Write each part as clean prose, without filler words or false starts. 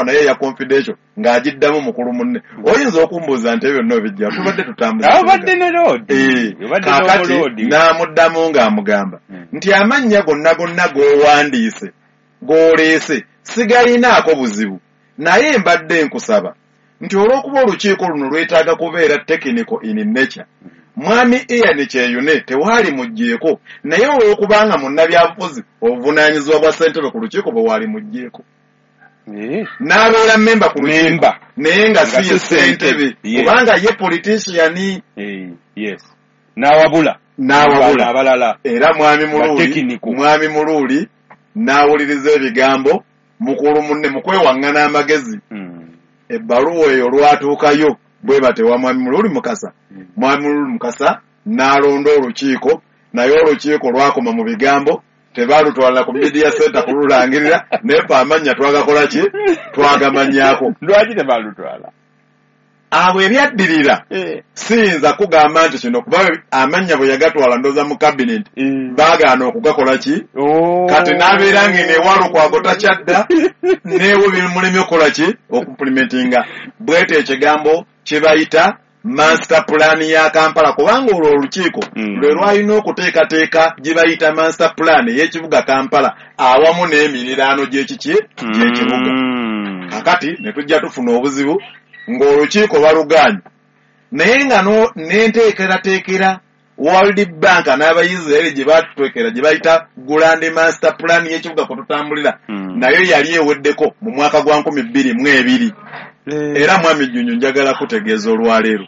ebbaluwa naye ya confidential ng'agiddamu mukulu munne. Oyinza okumbuuza nti ebyo byonna bijja, tubadde tutambuza. Obadde ne Lord. Obadde Kaakati n'omuloodi. n'amuddamu ng'amugamba nti amannya gonna gonna g'owandiise, g'oleese, sigalinaako buzibu, naye mbadde nkusaba nti olw'okuba olukiiko luno lwetaaga kubeera technical in nature, Mwami Ian Kyeyune tewaali muggyeeko, naye olw'okubanga munnabyabufuzi obuvunaanyizibwa bwa ssentebe ku lukiiko bwe waali muggyeeko, n'abeera memba ku lukiiko Memba. naye nga Nga si ye si ssentebe. ssentebe, Yes. kubanga ye politician. Yes. N'awabula. N'awabula. Abalala. Era Mwami Muluuli, Technical. Mwami Muluuli n'awuliriza ebigambo mukulu munne mu kwewaŋŋana amagezi. Ebbaluwa eyo olwatuukayo bwe batewa Mwami Muluuli Mukasa, Mwami Muluuli Mukasa n'alonda olukiiko, naye olukiiko lwakoma mu bigambo, tebalutwala ku media center kululangirira, naye fe amannya twagakola ki? Twagamanyaako. Lwaki tebalutwala? Abo ebyaddirira siyinza kugamba nti kino, kuba amannya bwe yagatwala ndooza mu cabinet baagaana okugakola ki? Oh. Kati n'abeera ng'eno ewa Lukwago takyadda, neewe bimulemye okukola ki? Okumplementinga. Bwete ekigambo kye bayita master plan ya Kampala, kubanga olwo olukiiko lwe lwalina okuteekateeka gye bayita master plan ey'ekibuga Kampala awamu n'emiriraano gy'ekiki? Gy'ekibuga. Kakati ne tujja tufuna obuzibu ng'olukiiko balugaanye, naye nga n'enteekerateekera World Bank n'Abayisirayiri gye batuteekera gye bayita Grand Master Plan y'ekibuga kwe tutambulira, nayo yali eweddeko mu mwaka gwa 2002. Era Mwami Jjunju, njagala kutegeeza olwaleero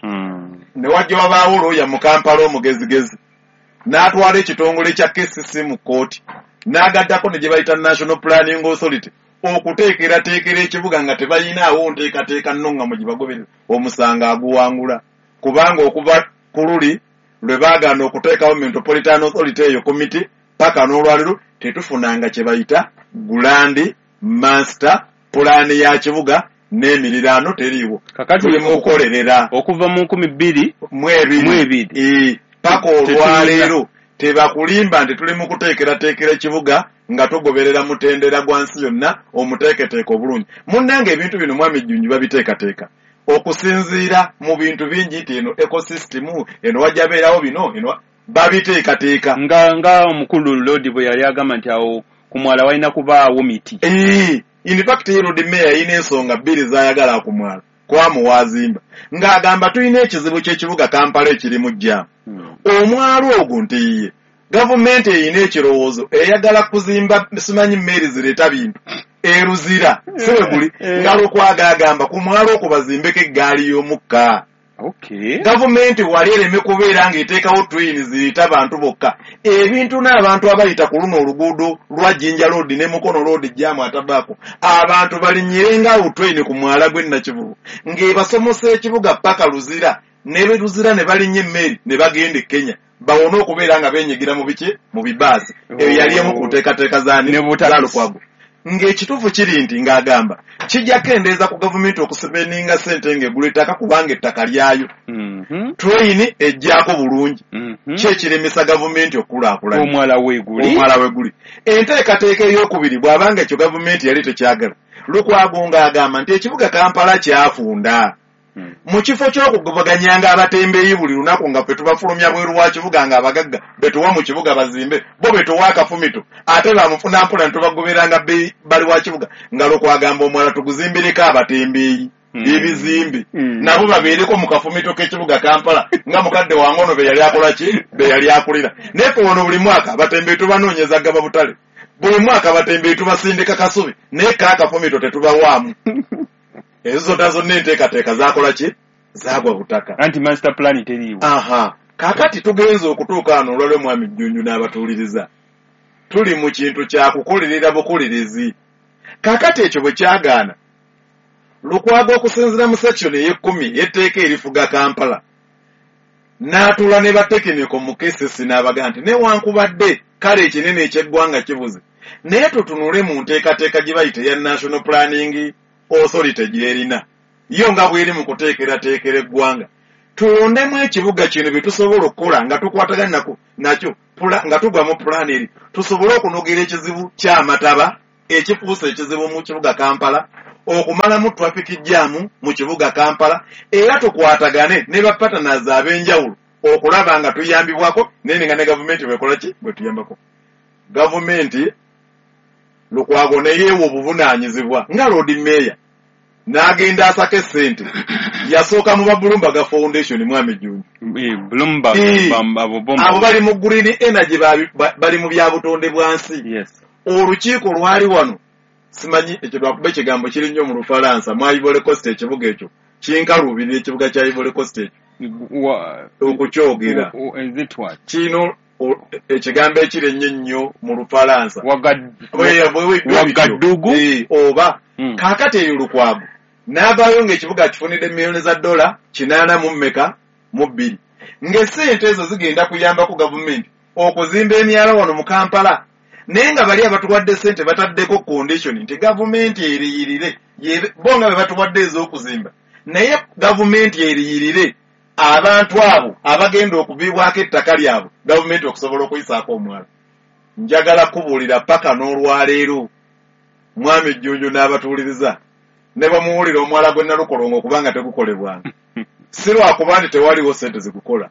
ne wajja wabaawo looya mu Kampala omugezigezi n'atwala ekitongole kya KCC mu kkooti, n'agattako ne gye bayita National Planning Authority okuteekerateekera ekibuga nga tebayinaawo nteekateeka nnungamu gye bagoberera. Omusango aguwangula, kubanga okuva ku luli lwe baagaana okuteekawo Metropolitan Authority eyo komiti, paka n'olwaleero tetufunanga kye bayita Grand Master Plan ya kibuga n'emiriraano teriiwo. Kakati Tuli mu kukolerera. Okuva mu nkumi bbiri mu ebiri. Mu ebiri. Paka olwaleero tebakulimba nti tuli mu kuteekerateekera ekibuga nga tugoberera mutendera gwa nsi yonna omuteeketeeka obulungi. Munnange, ebintu bino Mwami Jjunju babiteekateeka okusinziira mu bintu bingi, nti eno ecosystem eno wajja beerawo bino, eno babiteekateeka. Nga omukulu Lodi bwe yali agamba nti awo ku mwala walina kubaawo miti. In fact, Lord Mayor yalina ensonga bbiri z'ayagala ku mwala kwamuwaazimba, ng'agamba tulina ekizibu ky'ekibuga Kampala ekirimu jjaamu. Omwalo ogwo nti ye gavumenti erina ekirowoozo eyagala kuzimba simanyi mmeeri zireeta bintu eruzira, si bwe guli? Nga Lukwago agamba ku mwalo okwo bazimbeko eggaali y'omukka. Gavumenti wali ereme kubeera ng'eteekawo train zireeta abantu bokka, ebintu n'abantu abayita ku luno oluguudo lwa Jinja Road ne Mukono Road, jaamu atabaako, abantu balinnyirenga awo train ku mwala gw'e Nakivubo ng'ebasomosa ekibuga paka Luzira, ne Luzira ne balinnya emmeri ne bagenda e Kenya, bawone okubeera nga beenyigira mu biki, mu bibaasi. Eyo yali emu ku nteekateeka zaani? Ne butakisi. Za Lukwago. Ng'ekituufu kiri nti ng'agamba kijja kendeeza ku gavumenti okusipendinga ssente ng'egula ettaka, kubanga ettaka lyayo. Train ejjaako bulungi. Ki ekiremesa gavumenti okukulaakulanya? Omwala weeguli. Omwala weguli. Enteekateeka ey'okubiri, bw'abanga ekyo gavumenti yali tekyagala, Lukwago ng'agamba nti ekibuga Kampala kyafunda. Mu kifo ky'okugobaganyanga abatembeeyi buli lunaku nga ffe tubafulumya bweru wa kibuga, nga abagagga betuwa mu kibuga bazimbe, bo betuwa akafumito, ate bamufuna mpola ne tubagoberanga bali wa kibuga, nga Lukwago omwala tuguzimbireko abatembeeyi ebizimbe, nabo babeereko mu kafumito k'ekibuga Kampala, nga mukadde wange ono be yali akola ki, be yali akulira. Naye ffe wano buli mwaka abatembeeyi tubanoonyeza gaba butale, buli mwaka abatembeeyi tubasindika Kasubi, naye kaakafumito tetubawaamu. Ezo zonna zonna enteekateeka zaakola ki? Zaagwa butaka. Anti master plan teriiwo. Aha, kaakati tugenze okutuuka wano olwalwo, Mwami Jjunju n'abatuuliriza, tuli mu kintu kya kukolerera bukolerezi. Kaakati ekyo bwe kyagaana, Lukwago okusinziira mu section ey'ekkumi y'etteeka erifuga Kampala, n'atuula ne batekiniko mu KCC n'abagaa nti newankubadde kale ekinene eky'eggwanga kibuze, naye tutunule mu nteekateeka gye bayita eya National Planning Authority gy'erina yo nga bw'eri mu kuteekerateekera eggwanga, tulondemu ekibuga kino bye tusobola okukola nga tukwatagana nakyo, nga tugwa mu pulaani eri, tusobole okunogera ekizibu ky'amataba ekifuuse ekizibu mu kibuga Kampala. okumalamu traffic jam mu kibuga Kampala, era tukwatagane ne ba partners ab'enjawulo okulaba nga tuyambibwako naye nga ne gavumenti bwekola ki bwe tuyambako. Gavumenti Lukwago ne yeewa obuvunaanyizibwa nga Lord Mayor n'agenda asaka essente. Yasooka mu ba Bloomberg Foundation, mwami Jjunju. Bloomberg, abo bali mu green energy, bali mu bya butonde bwa nsi. Olukiiko lwali wano, simanyi ekyo lwakuba ekigambo kiri nnyo mu Lufalansa, mu Ivory Coast, ekibuga ekyo kinkaluubirira, ekibuga kya Ivory Coast ekyo okukyogera kino ekigambo ekiri ennyo ennyo mu Lufalansa. Wagadugu oba. Kaakati eyo Lukwago n'avaayo ng'ekibuga kifunidde miliyoni za dola 82, ng'essente ezo zigenda kuyambako gavumenti okuzimba emyala wano mu Kampala, naye nga bali abatuwadde ssente bataddeko condition nti gavumenti eriyirire bo nga be batuwadde ez'okuzimba, naye gavumenti eriyirire abantu abo abagenda okuviibwako ettaka lyabwe, gavumenti okusobola okuyisaako omwala. Njagala kubuulira paka n'olwaleero, mwami Jjunju n'abatuuliriza, ne bamuwulira omwala gwe Nalukolongo okubanga tegukolebwanga, si lwakuba nti tewaliwo ssente zigukola,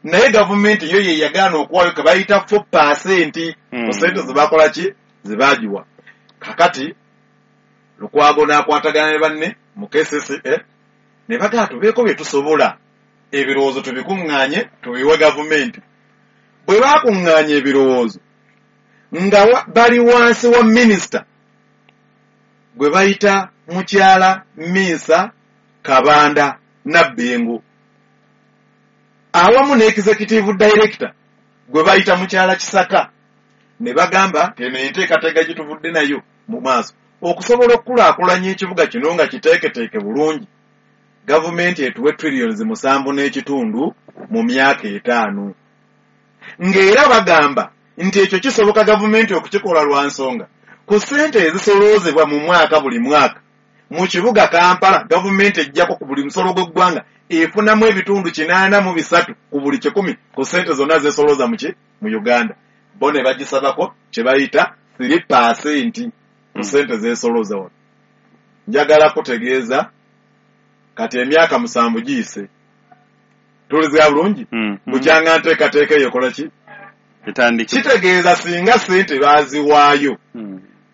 naye gavumenti yo ye yagaana okuwaayo ke bayita 4% ku ssente zebakola ki zebagiwa. Kakati Lukwago n'akwatagana ne banne mu KCCA ne bagaa tubeeko bye tusobola, ebirowoozo tubikuŋŋaanye tubiwe gavumenti. Bwe baakuŋŋaanya ebirowoozo nga bali wansi wa minisita gwe bayita mukyala Minsa Kabanda Nabbengo, awamu ne executive director gwe bayita mukyala Kisaka, ne bagamba eno enteekateeka gye tuvudde nayo mu maaso okusobola okukulaakulanya ekibuga kino nga kiteeketeeke bulungi, gavumenti etuwe trillions 7.5 mu myaka 5, ng'era bagamba nti ekyo kisoboka gavumenti okukikola lwa nsonga ku ssente ezisoloozebwa mu mwaka buli mwaka mu kibuga Kampala, gavumenti ejjako ku buli musolo gw'eggwanga efunamu ebitundu 83 ku buli 100 ku ssente zonna zesolooza mu Uganda. Bo ne bagisabako kye bayita 3% ku ssente zesolooza wano. Njagala kutegeeza kati emyaka 7 giyise, tuliza bulungi, bukyanga nteekateeka eyo ekola ki kitegeeza singa ssente baaziwaayo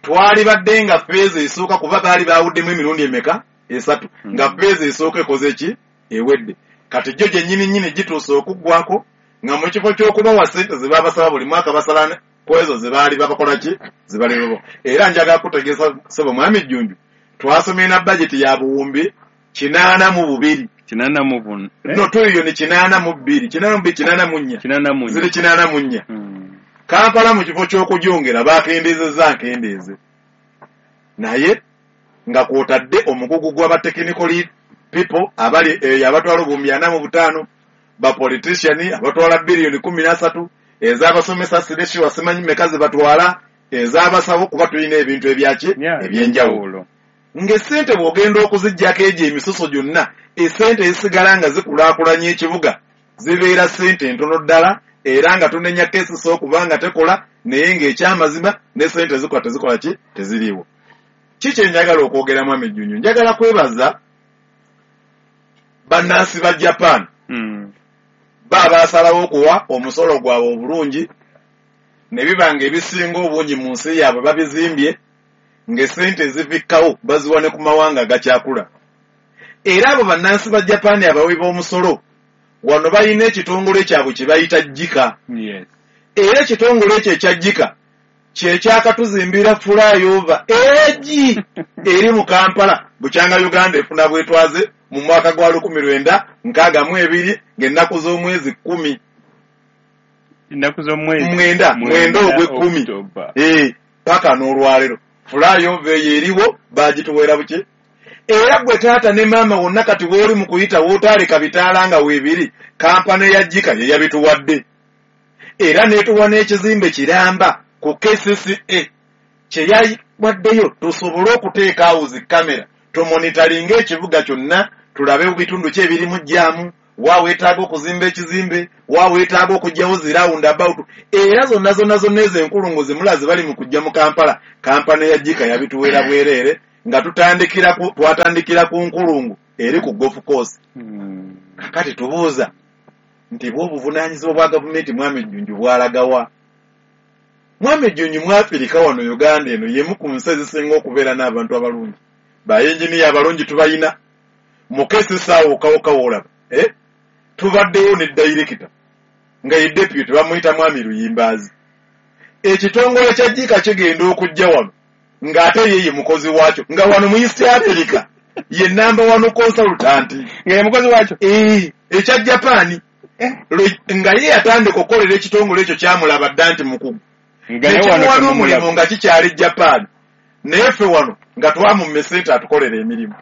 twali badde nga phase esooka, kuba baali baawuddemu emirundi emeka 3, nga phase esooka ekoze ki ewedde. Kati jjo gyennyini nnyini gituuse okuggwako nga mu kifo ky'okubawa ssente ze babasaba buli mwaka basala ku ezo ze baali babakola ki ze bali babo. Era njagala kutegeeza ssebo mwami Jjunju, twasomye na bajeti ya buwumbi 82 84 no trillion 82 82 84 ziri 84. Kampala mu kifo ky'okugyongera bakendeezezza nkendeeze, naye nga kw'otadde omugugu gw'aba technical people abali eyo abatwala obuwumbi 45, ba politician abatwala biliyoni 13, ez'abasomesa sireshiwa simanyi mmeka ze batwala, ez'abasawo, kuba tulina ebintu ebyaki ebyenjawulo. Ng'essente bw'ogenda okuziggyako egyo emisoso gyonna, essente ezisigala nga zikulaakulanya ekibuga zibeera ssente ntono ddala, era nga tunenya KCCA okuba nga tekola, naye ng'ekyamazima ne ssente zikola tezikola ki teziriiwo. Ki kye njagala okwogera mwami Jjunju, njagala kwebaza bannansi ba Japan ba baasalawo okuwa omusolo gwabwe obulungi, ne biba nga ebisinga obungi mu nsi yaabwe babizimbye ng'essente ezivikkawo baziwa ne ku mawanga agakyakula. Era abo bannansi ba Japan abawi b'omusolo wano balina ekitongole kyabwe kye bayita JICA. Era ekitongole ekyo ekya JICA kye kyakatuzimbira flyover egi eri mu Kampala bukyanga Uganda efuna bwetwaze mu mwaka gwa 1962 ng'ennaku z'omwezi 10, ennaku z'omwezi 9 ogw'ekumi, paka n'olwaleero flyover eyo eriwo bagituweera buki. Era gwe taata ne maama wonna kati w'oli mu kuyita w'otaaleka bitaala nga weebiri, kampani ya JICA ye yabituwadde, era n'etuwa n'ekizimbe kiramba ku KCCA kye yawaddeyo tusobole okuteeka awo zi kamera tumonitaringa ekibuga kyonna, tulabe bitundu ki ebirimu jjaamu, wa weetaaga okuzimba ekizimbe, wa weetaaga okuggyawo zi roundabout. Era zonna zonna zonna ezo enkulungo ze mulaze bali mu kujja mu Kampala, kampani ya JICA yabituweera bwereere. Nga twatandikira ku nkulungu eri ku golf course. Kakati tubuuza nti bwe obuvunaanyizibwa bwa gavumenti Mwami Jjunju bwalagawa? Mwami Jjunju, mu Afirika wano, Uganda eno yemu ku nsi ezisinga okubeera n'abantu abalungi, bayinginiya abalungi tubayina. Mukesisaawo okawukawo olaba, eh? Tubaddewo ne dayirekita nga ye deputy, bamuyita Mwami Luyimbaazi. Ekitongole kya JICA kigenda okujja wano ng'ate ye ye mukozi waakyo, nga wano mu East Africa ye number one consultant. Nga ye mukozi waakyo? Eh, ekya Japan. Nga ye yatandika okukolera ekitongole ekyo, kyamulaba dda nti mukugu. Nga naye wano nekimuwa temumulaba. N'omulimu nga kikyali Japan, naye ffe wano nga twamumma esente atukolera emirimu,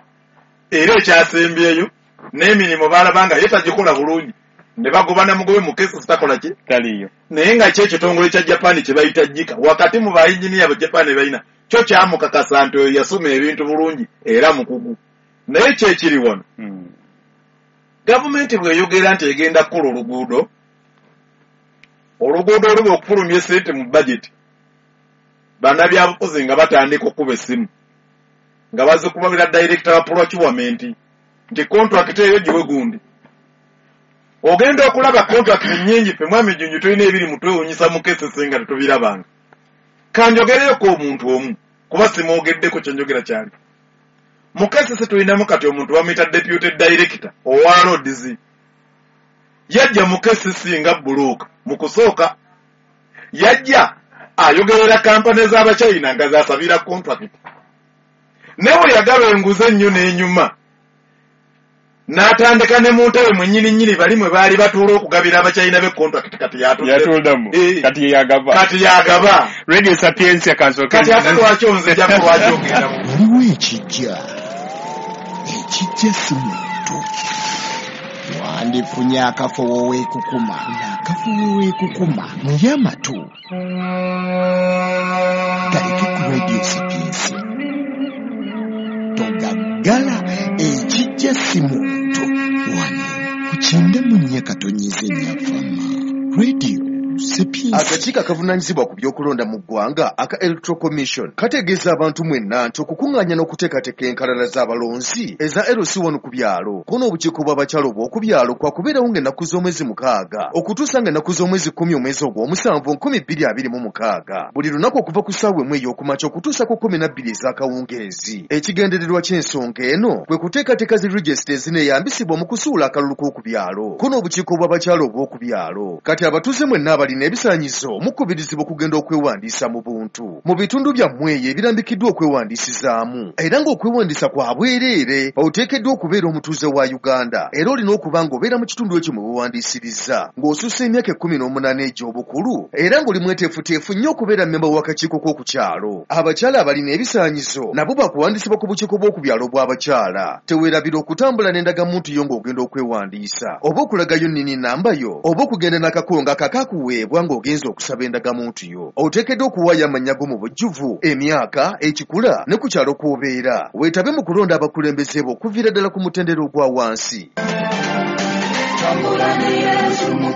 era ekyasembyeyo n'emirimu baalaba nga ye tagikola bulungi, ne bagoba namugobe mu kesi takola ki. Taliyo. Naye nga ki ekitongole kya Japan kye bayita JICA, wakati mu bayinginiya ba Japan balina kyo, kyamukakasa nti oyo yasoma ebintu bulungi era mukugu. Naye kyekiri wano, gavumenti bw'eyogera nti egenda kukola oluguudo, oluguudo oluba okufulumya esente mu budget, bannabyabufuzi nga batandika okukuba essimu nga bazikubabira director wa procurement nti contract eyo giwe gundi. Ogenda okulaba contract nnyingi. Ffe, Mwami Jjunju, tulina ebiri mu twewunyisa mu KCC nga tetubirabanga. Kanjogereyoko omuntu omu, kuba simwogeddeko, kyenjogera kyali mu KCC. Tulinamu kati omuntu bamuyita deputy director owa roads. Yajja mu KCC nga broker. Mu kusooka yajja ayogerera kampani z'Abachina nga zasabira contract, naye bwe yagaba enguzi ennyo n'enyuma, n'atandika ne mu ntebe mwennyini nnyini bali mwe baali batuula okugabira Abachina be contract, kati yatudde. Yatuldamu. Eh. Kati ye yagaba. Kati yagaba. Radio Sapientia, kansooke. Kati ate lwaki onzijako? Lwaki ogenda mu Waliwo ekijja, ekijja si muntu. Wandifunye akafo weekukuma, akafo weekukuma, naye amatu galeke ku Radio Sapientia, togaggala. Ekijja si muntu, wano ku 94.4 fama Radio Sapientia. Akakiiko akavunaanyizibwa ku by'okulonda mu ggwanga aka Electoral Commission kategeeza abantu mwenna nti okukuŋŋaanya n'okuteekateeka enkalala z'abalonzi eza LC1 ku byalo ko n'obukiiko bw'abakyala obw'oku byalo kwakubeerawo ng'ennaku z'omwezi 6 okutuusa ng'ennaku z'omwezi 10 omwezi ogw'omusanvu 2026, buli lunaku okuva ku ssaawa 1 ey'okumakya okutuusa ku 12 ez'akawungeezi. Ekigendererwa ky'ensonga eno kwe kuteekateeka zi regisita ezineeyambisibwa mu kusuula akalulu k'oku byalo ko n'obukiiko bw'abakyala obw'oku byalo. Kati abatuuze mwenna abalina ebisaanyizo mukubirizibwa okugenda okwewandiisa mu buntu mu bitundu byammwe eyo ebirambikiddwa okwewandiisizaamu, era ng'okwewandiisa kwa bwereere. Oteekeddwa okubeera omutuuze wa Uganda, era olina okuba ng'obeera mu kitundu ekyo mwe weewandiisiriza, ng'osussa emyaka 18 egy'obukulu, era ng'oli mweteefuteefu nnyo okubeera mmemba w'akakiiko k'oku kyalo. Abakyala abalina ebisaanyizo nabo bakuwandiisibwa ku bukiiko bw'oku byalo bw'abakyala. Teweerabira okutambula n'endagamuntu yo ng'ogenda okwewandiisa, oba okulagayo nnini namba yo, oba okugenda n'akakongo akakakuweebwa ng'ogenza okusaba endagamuntu yo. Oteekeddwa okuwaayo amannya go mu bujjuvu, emyaka, ekikula ne ku kyalo kw'obeera. Weetabe mu kulonda abakulembeze bo okuviira ddala ku mutendera ogwa wansi.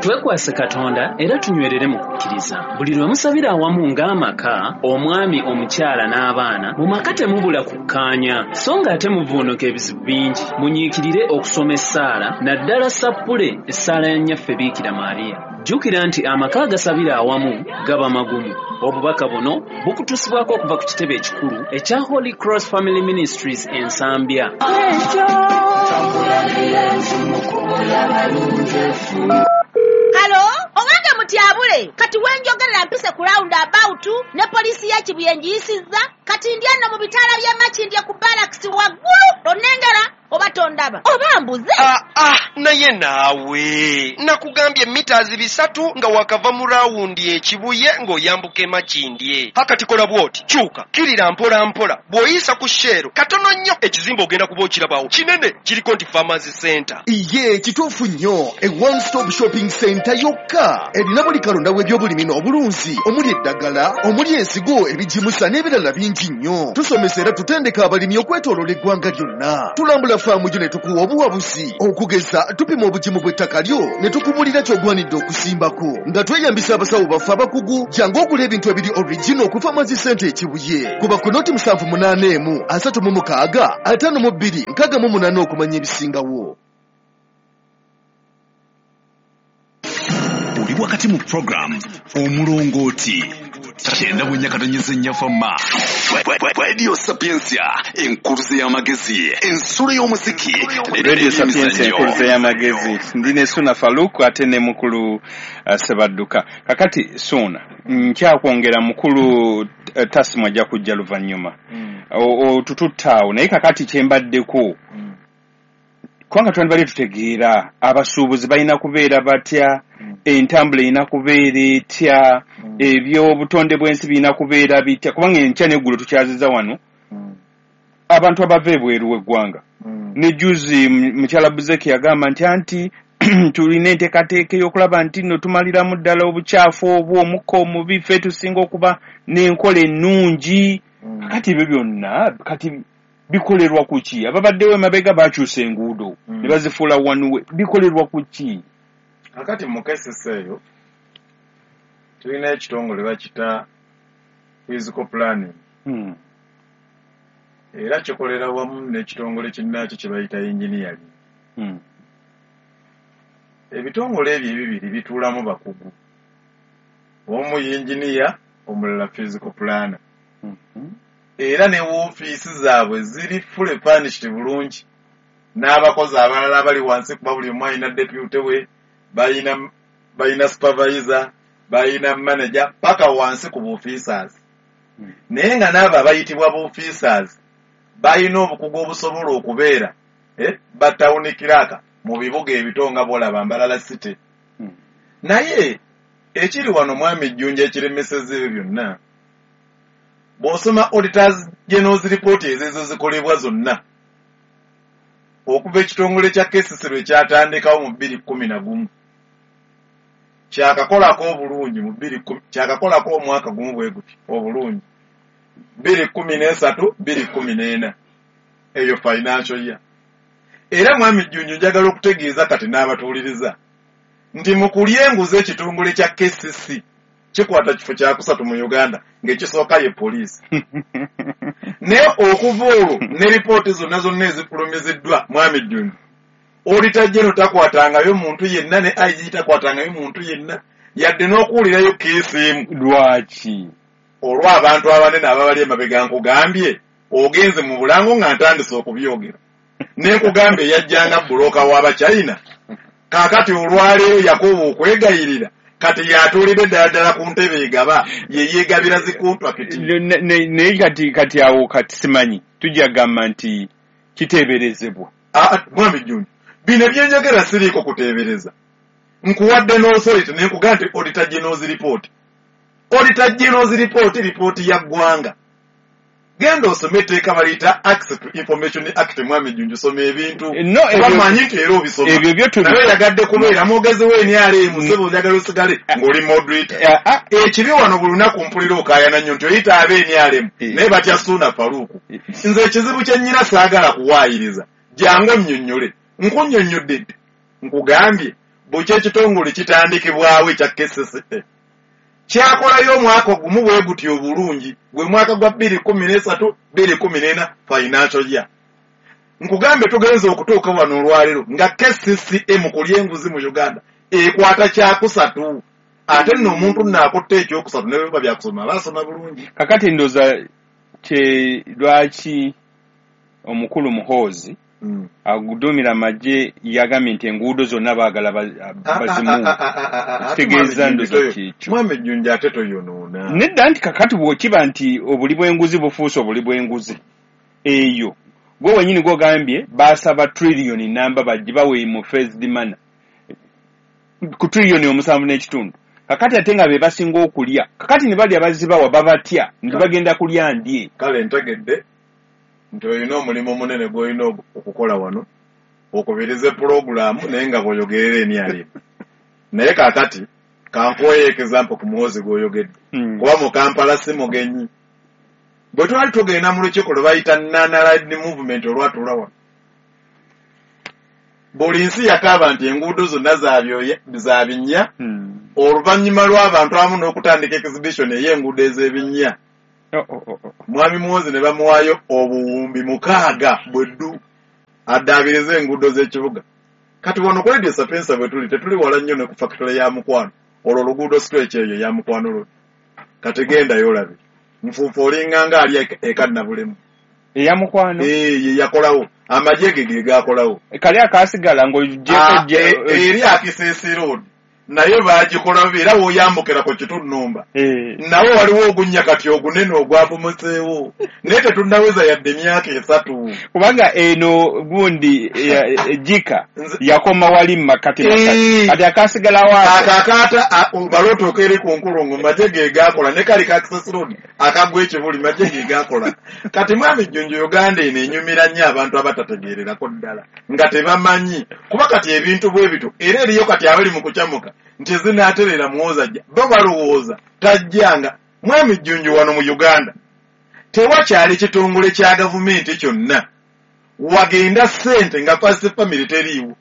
Twekwase Katonda era tunywerere mu kukkiriza. Buli lwe musabira awamu ng'amaka, omwami, omukyala n'abaana, mu maka temubula kukkaanya, so ng'ate muvuunuka ebizibu bingi. Munyiikirire okusoma essaala, naddala sappule, essaala ya Nnyaffe Biikira Maariya. Jjukira nti amaka agasabira awamu gaba magumu. Obubaka buno bukutuusibwako okuva ku kitebe ekikulu ekya Holy Cross Family Ministries Ensambya. Hello, owange mutyabule, kati wenjogerera mpise ku round about ne poliisi ya Kibuye ngiyisizza. Kati ndya nno mu bitaala by'e Makindye ku barracks waggulu. Onnengera oba tondaba oba mbuze? Ah, ah, naye naawe nakugambye mita 300 nga wakava mu rawundi ekibuye ng'oyambuka emakindye. Hakati kola bw'oti, kyuka kirira mpola mpola, bw'oyisa ku Shell katono nnyo, ekizimbe ogenda kuba okirabawo kinene, kiriko nti Farmers Center. Ye kituufu nnyo, e one stop shopping center yokka erina buli kalonda w'ebyobulimi n'obulunzi, omuli eddagala, omuli ensigo, ebigimusa n'ebirala bingi nnyo. Tusomesa era tutendeka abalimi okwetooloola eggwanga lyonna. Tulambula faamu gyo ne tukuwa obuwabuzi okugeza Tusooka tupima obugimu bw'ettaka lyo ne tukubuulira ky'ogwanidde okusimbako nga tweyambisa abasawo baffe abakugu. Jangu ogula ebintu ebiri original ku Farmers Center e Kibuye. Kuba ku noti 781 36 52 68 okumanya ebisingawo. Oli wakati mu program Omulongooti 94.4 Fama Radio Sapientia, enkuluze y'amagezi, ensulo y'omuziki. Radio Sapientia, enkuluze y'amagezi. Ndi ne Ssuuna Farouk ate ne mukulu Ssebadduka. Kakati Ssuuna, nkyakwongera mukulu Tasimu ajja kujja luvannyuma. Otututte awo, naye kakati kyembaddeko kubanga twandibadde tutegeera abasuubuzi balina kubeera batya, entambula erina kubeera etya, ebyobutonde bw'ensi birina kubeera bitya, kubanga enkya n'eggulo tukyaziza wano abantu abava ebweru w'eggwanga. Ne juzi mukyala Buzeki yagamba nti anti tulina enteekateeka ey'okulaba nti nno tumaliramu ddala obukyafu obwo, omukka omubi, ffe tusinga okuba n'enkola ennungi. Kati ebyo byonna kati bikolerwa ku ki? Ababaddewo emabega bakyusa enguudo ne bazifuula one way, bikolerwa ku ki? Kakati mu KCC eyo tulina ekitongole bakita physical planning, era kikolera wamu n'ekitongole kinnaakyo kye bayita engineering. Ebitongole ebyo ebibiri bituulamu bakugu, omu yinginiya, omulala physical planner, era ne woofiisi zaabwe ziri fully furnished bulungi n'abakozi abalala abali wansi, kuba buli omu alina deputy we, balina supervisor, balina manager, paka wansi ku buofficers. Naye nga n'abo abayitibwa buofficers balina obukugu obusobola okubeera ba town clerk mu bibuga ebito nga bwolaba Mbarara City. Naye ekiri wano, mwami Jjunja, ekiremeseza ebyo byonna, bw'osoma Auditors General's report ezezo zikolebwa zonna okuva ekitongole kya KCC lwe kyatandikawo mu 2011, kyakakolako obulungi mu kyakakolako omwaka gumu bwe guti obulungi, 2013 2014, eyo financial year. Era mwami Jjunju, njagala okutegeeza kati n'abatuuliriza nti mu kulya enguzi ekitongole kya KCC kikwata kifo kyakusatu mu Uganda, ng'ekisooka ye poliisi. Naye okuva olwo ne ripooti zonna zonna ezifulumiziddwa, mwami Jjunju, Auditor General takwatangayo muntu yenna, ne IG takwatangayo muntu yenna, yadde n'okuwulirayo keesi emu. Lwaki? Olw'abantu abanene ababali emabega. Nkugambye ogenze mu bulango nga ntandise okubyogera, ne nkugambye eyajjanga broker w'Abachina, kaakati olwaleero Yakobo okwegayirira kati yatuulidde ddala ddala ku ntebe egaba, ye yeegabira zi contract. Naye kati awo kati simanyi tujja gamba nti kiteeberezebwa. Mwami Jjunju, bino byenjogera siriiko kuteebereza. Nkuwadde n'authority ne nkugamba nti Auditor General's report, Auditor General's report, ripooti ya ggwanga. Genda osome etteeka baliyita Access to Information Act. Mwami Jjunju, soma ebintu. No, kuba manyi nti era obisoma. Ebyo byo Naye oyagadde kubeera mwogezi w'NRM, sebo, oyagala osigale ng'oli moderator. Ekibi wano buli lunaku mpulira okaayana nnyo nti oyita ab'NRM naye batya Ssuuna Farouk. Nze ekizibu kye nnyina saagala kuwaayiriza, jangu onnyonnyole. Nkunnyonnyodde dda, nkugambye bukya ekitongole kitandikibwawo ekya KCCA kyakolayo omwaka gumu bwe guti obulungi, gwe mwaka gwa 2013 2014 financial year. Nkugambye tugenze okutuuka wano olwaleero nga KCCA mu kulya enguzi mu Uganda ekwata kyakusatu, ate nno omuntu nno akutte ekyokusatu ne biba byakusoma aba asoma bulungi. Kakati ndowooza kye lwaki omukulu Muhoozi aguduumira amagye yagambye nti enguudo zonna baagala bazimuwe. Kitegeeza ndowooza kyekyo. Mwami Jjunja, ate toyonoona. Nedda, nti kakati bw'okiba nti obuli bw'enguzi bufuuse obuli bw'enguzi, eyo gwe wenyini gwogambye baasaba triliyoni namba bagibawe mu phased manner ku triliyoni 7.5. Kakati ate nga be basinga okulya, kakati ne balya bazibawa babatya nti bagenda kulya ndye. Kale ntegedde nti olina omulimu omunene gw'olina okukola wano, okubirize pulogulaamu naye nga bw'oyogerera NRM. Naye kaakati kankuweyo example ku Muhoozi gw'oyogedde, kuba mu Kampala si mugenyi. Bwe twali tugenda mu lukiiko lwe bayita Non-Aligned Movement olwatuula wano, Buli nsi yakaaba nti enguudo zonna za binnya, oluvannyuma lw'abantu abamu n'okutandika exhibition ey'enguudo ez'ebinnya. Mwami Muhoozi ne bamuwaayo obuwumbi 6 bweddu addaabirize enguudo z'ekibuga. Kati wano ku Radio Sapientia bwe tuli tetuli wala nnyo ne ku factory ya Mukwano, olwo oluguudo stretch eyo ya Mukwano Road. Kati gendayo olabe nfuufu olinga nga ali e Kannabulemu. Eya Mukwano? Ye yakolawo, amagye ge ge gaakolawo. Kali akaasigala ng'oggyeko eri Akisesi Road naye baagikola era w'oyambukira ku Kitunnumba. Nawo waliwo ogunnya kati ogunene ogwavumuseewo, naye tetunnaweza yadde emyaka 3. Kubanga eno gundi Jika yakoma wali Makati kati akaasigalawo akakaata balootuuka eri ku nkulungo, magye ge gaakola, ne kali ka Access Road akagwa ekibuli magye ge gaakola. Kati mwami Jjunju, Uganda eno enyumira nnyo abantu abatategeererako ddala nga tebamanyi, kuba kati ebintu bwe bityo era eriyo kati abali mu kukyamuka nti zinaaterera Muhoozi ajja, bo balowooza tajjanga. Mwami Jjunju, wano mu Uganda tewakyali kitongole kya gavumenti kyonna wagenda ssente nga first family teriiwo.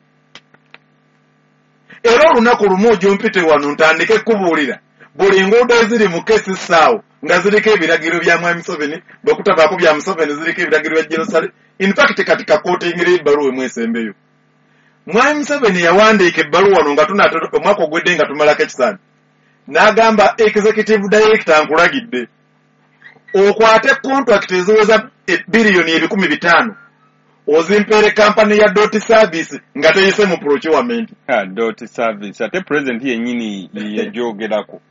Era olunaku lumu ojompite wano ntandike kubuulira buli nguudo eziri mu KCC nga ziriko ebiragiro bya Mwami Museveni, bwe kutabaako bya Museveni ziriko ebiragiro bya Jerusalem. In fact kati kakootingire ebbaluwa emwesembeyo. Mwami Museveni yawandiika ebbaluwa wano nga tunaatera omwaka ogwedde nga tumalako ekisaanyi, n'agamba executive director nkulagidde okwate contract eziweza biliyoni 500 ozimpeere kampani ya Dot Service nga teyise mu procurement. Dot Service ate president yennyini yagyogerako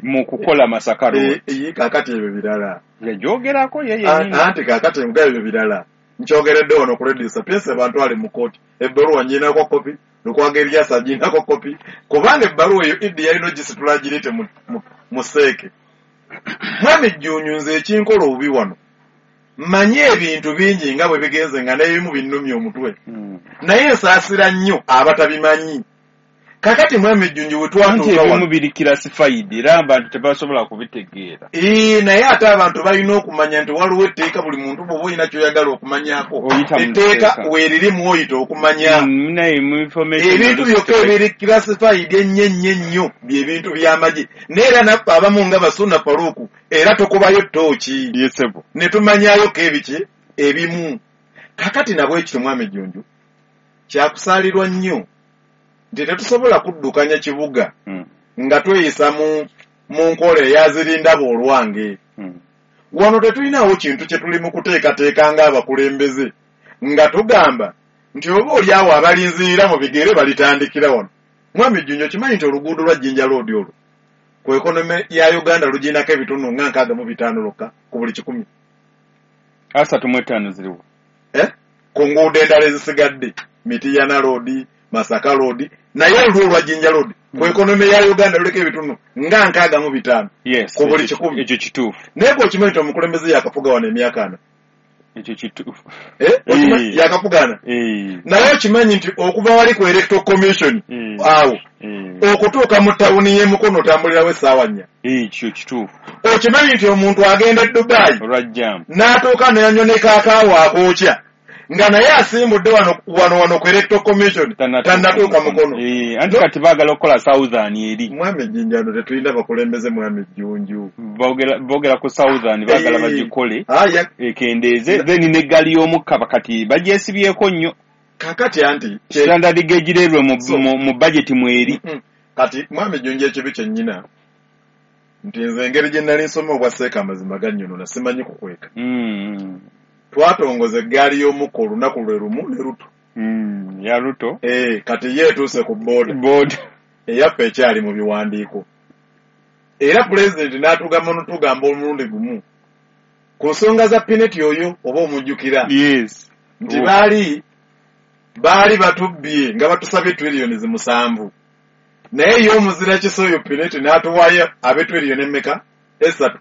mu kukola Masaka Road. Kaakati ebyo birala yagyogerako ye yennyini. Anti kaakati nga ebyo birala nkyogeredde wano ku Radio Sapientia bantwale mu kooti, ebbaluwa nnyinako kopi, Lukwago Erias aginako kopi, kubanga ebbaluwa eyo Iddi yalina ogisitula agirete mu seeke. Mwami Jjunju, nze ekinkola obubi wano mmanyi ebintu bingi nga bwe bigenze nga n'ebimu binnumya omutwe, naye nsaasira nnyo abatabimanyi. Kakati Mwami Jjunju bwe twatuuka wano, ebimu biri classified era abantu tebasobola kubitegeera. Naye ate abantu balina okumanya nti waliwo etteeka, buli muntu bw'oba olina ky'oyagala okumanyaako etteeka weeriri mw'oyita okumanya. Ebintu byokka ebiri classified ennyo ennyo ennyo bye bintu by'amagye, naye era naffe abamu nga Basuna Faruku era tukubayo ttooki ne tumanyayoko ebiki ebimu. Kakati nabwe ekyo Mwami Jjunju kyakusaalirwa nnyo nti tetusobola kuddukanya kibuga nga tweyisa mu nkola eyazirindaba olwange. Wano tetulinawo kintu kye tuli mu kuteekateeka ng'abakulembeze nga tugamba nti oba oli awo abalinzirira mu bigere balitandikira wano. Mwami Jjunju, okimanyi nti oluguudo lwa Jinja Road olwo ku economy ya Uganda luginako ebitundu nga 65 lwokka ku buli 100. 35 ziriwo ku nguudo endala ezisigadde, Mityana Road, Masaka Road, naye olwo olwa Jinja Road ku economy ya Uganda luliko ebitundu nga 65 ku buli 100. Ekyo kituufu. Naye bw'okimanyi nti omukulembeze yakafuga wano emyaka 4. Ekyo kituufu. Yakafuga 4. Naye okimanyi nti okuva wali ku Electoral Commission awo okutuuka mu tawuni y'e Mukono otambulirawo essaawa 4. Ekyo kituufu. Okimanyi nti omuntu agenda e Dubai olwa jam n'atuuka n'anywa ne kaakaawa akookya nga naye asimbudde wano ku Electoral Commission tannatuuka Mukono. Anti kati baagala okukola Southern eri. Mwami Jjinjano, tetulina bakulembeze Mwami Jjunju. Boogera ku Southern baagala bagikole ekendeeze, then n'eggaali y'omukka kati bagyesibyeko nnyo. Kakati anti standard gauge railway mu budget mweri. Kati Mwami Jjunju, ekibi kye nnyina nti nze engeri gye nali nsoma obwa seeka amazima gannyonona simanyi kukweka. Twatongoza eggaali y'omukka olunaku lwe lumu ne Ruto. Ya Ruto. Kati ye etuuse ku boda eyaffe ekyali mu biwandiiko. Era pulezidenti n'atugamba n'otugamba omulundi gumu ku nsonga za Pinetti oyo oba omujjukira. Yes. Nti baali batubbye nga batusabye triliyoni 7. Naye ye omuzira kisa oyo Pinetti n'atuwaayo abe triliyoni emmeka? 3.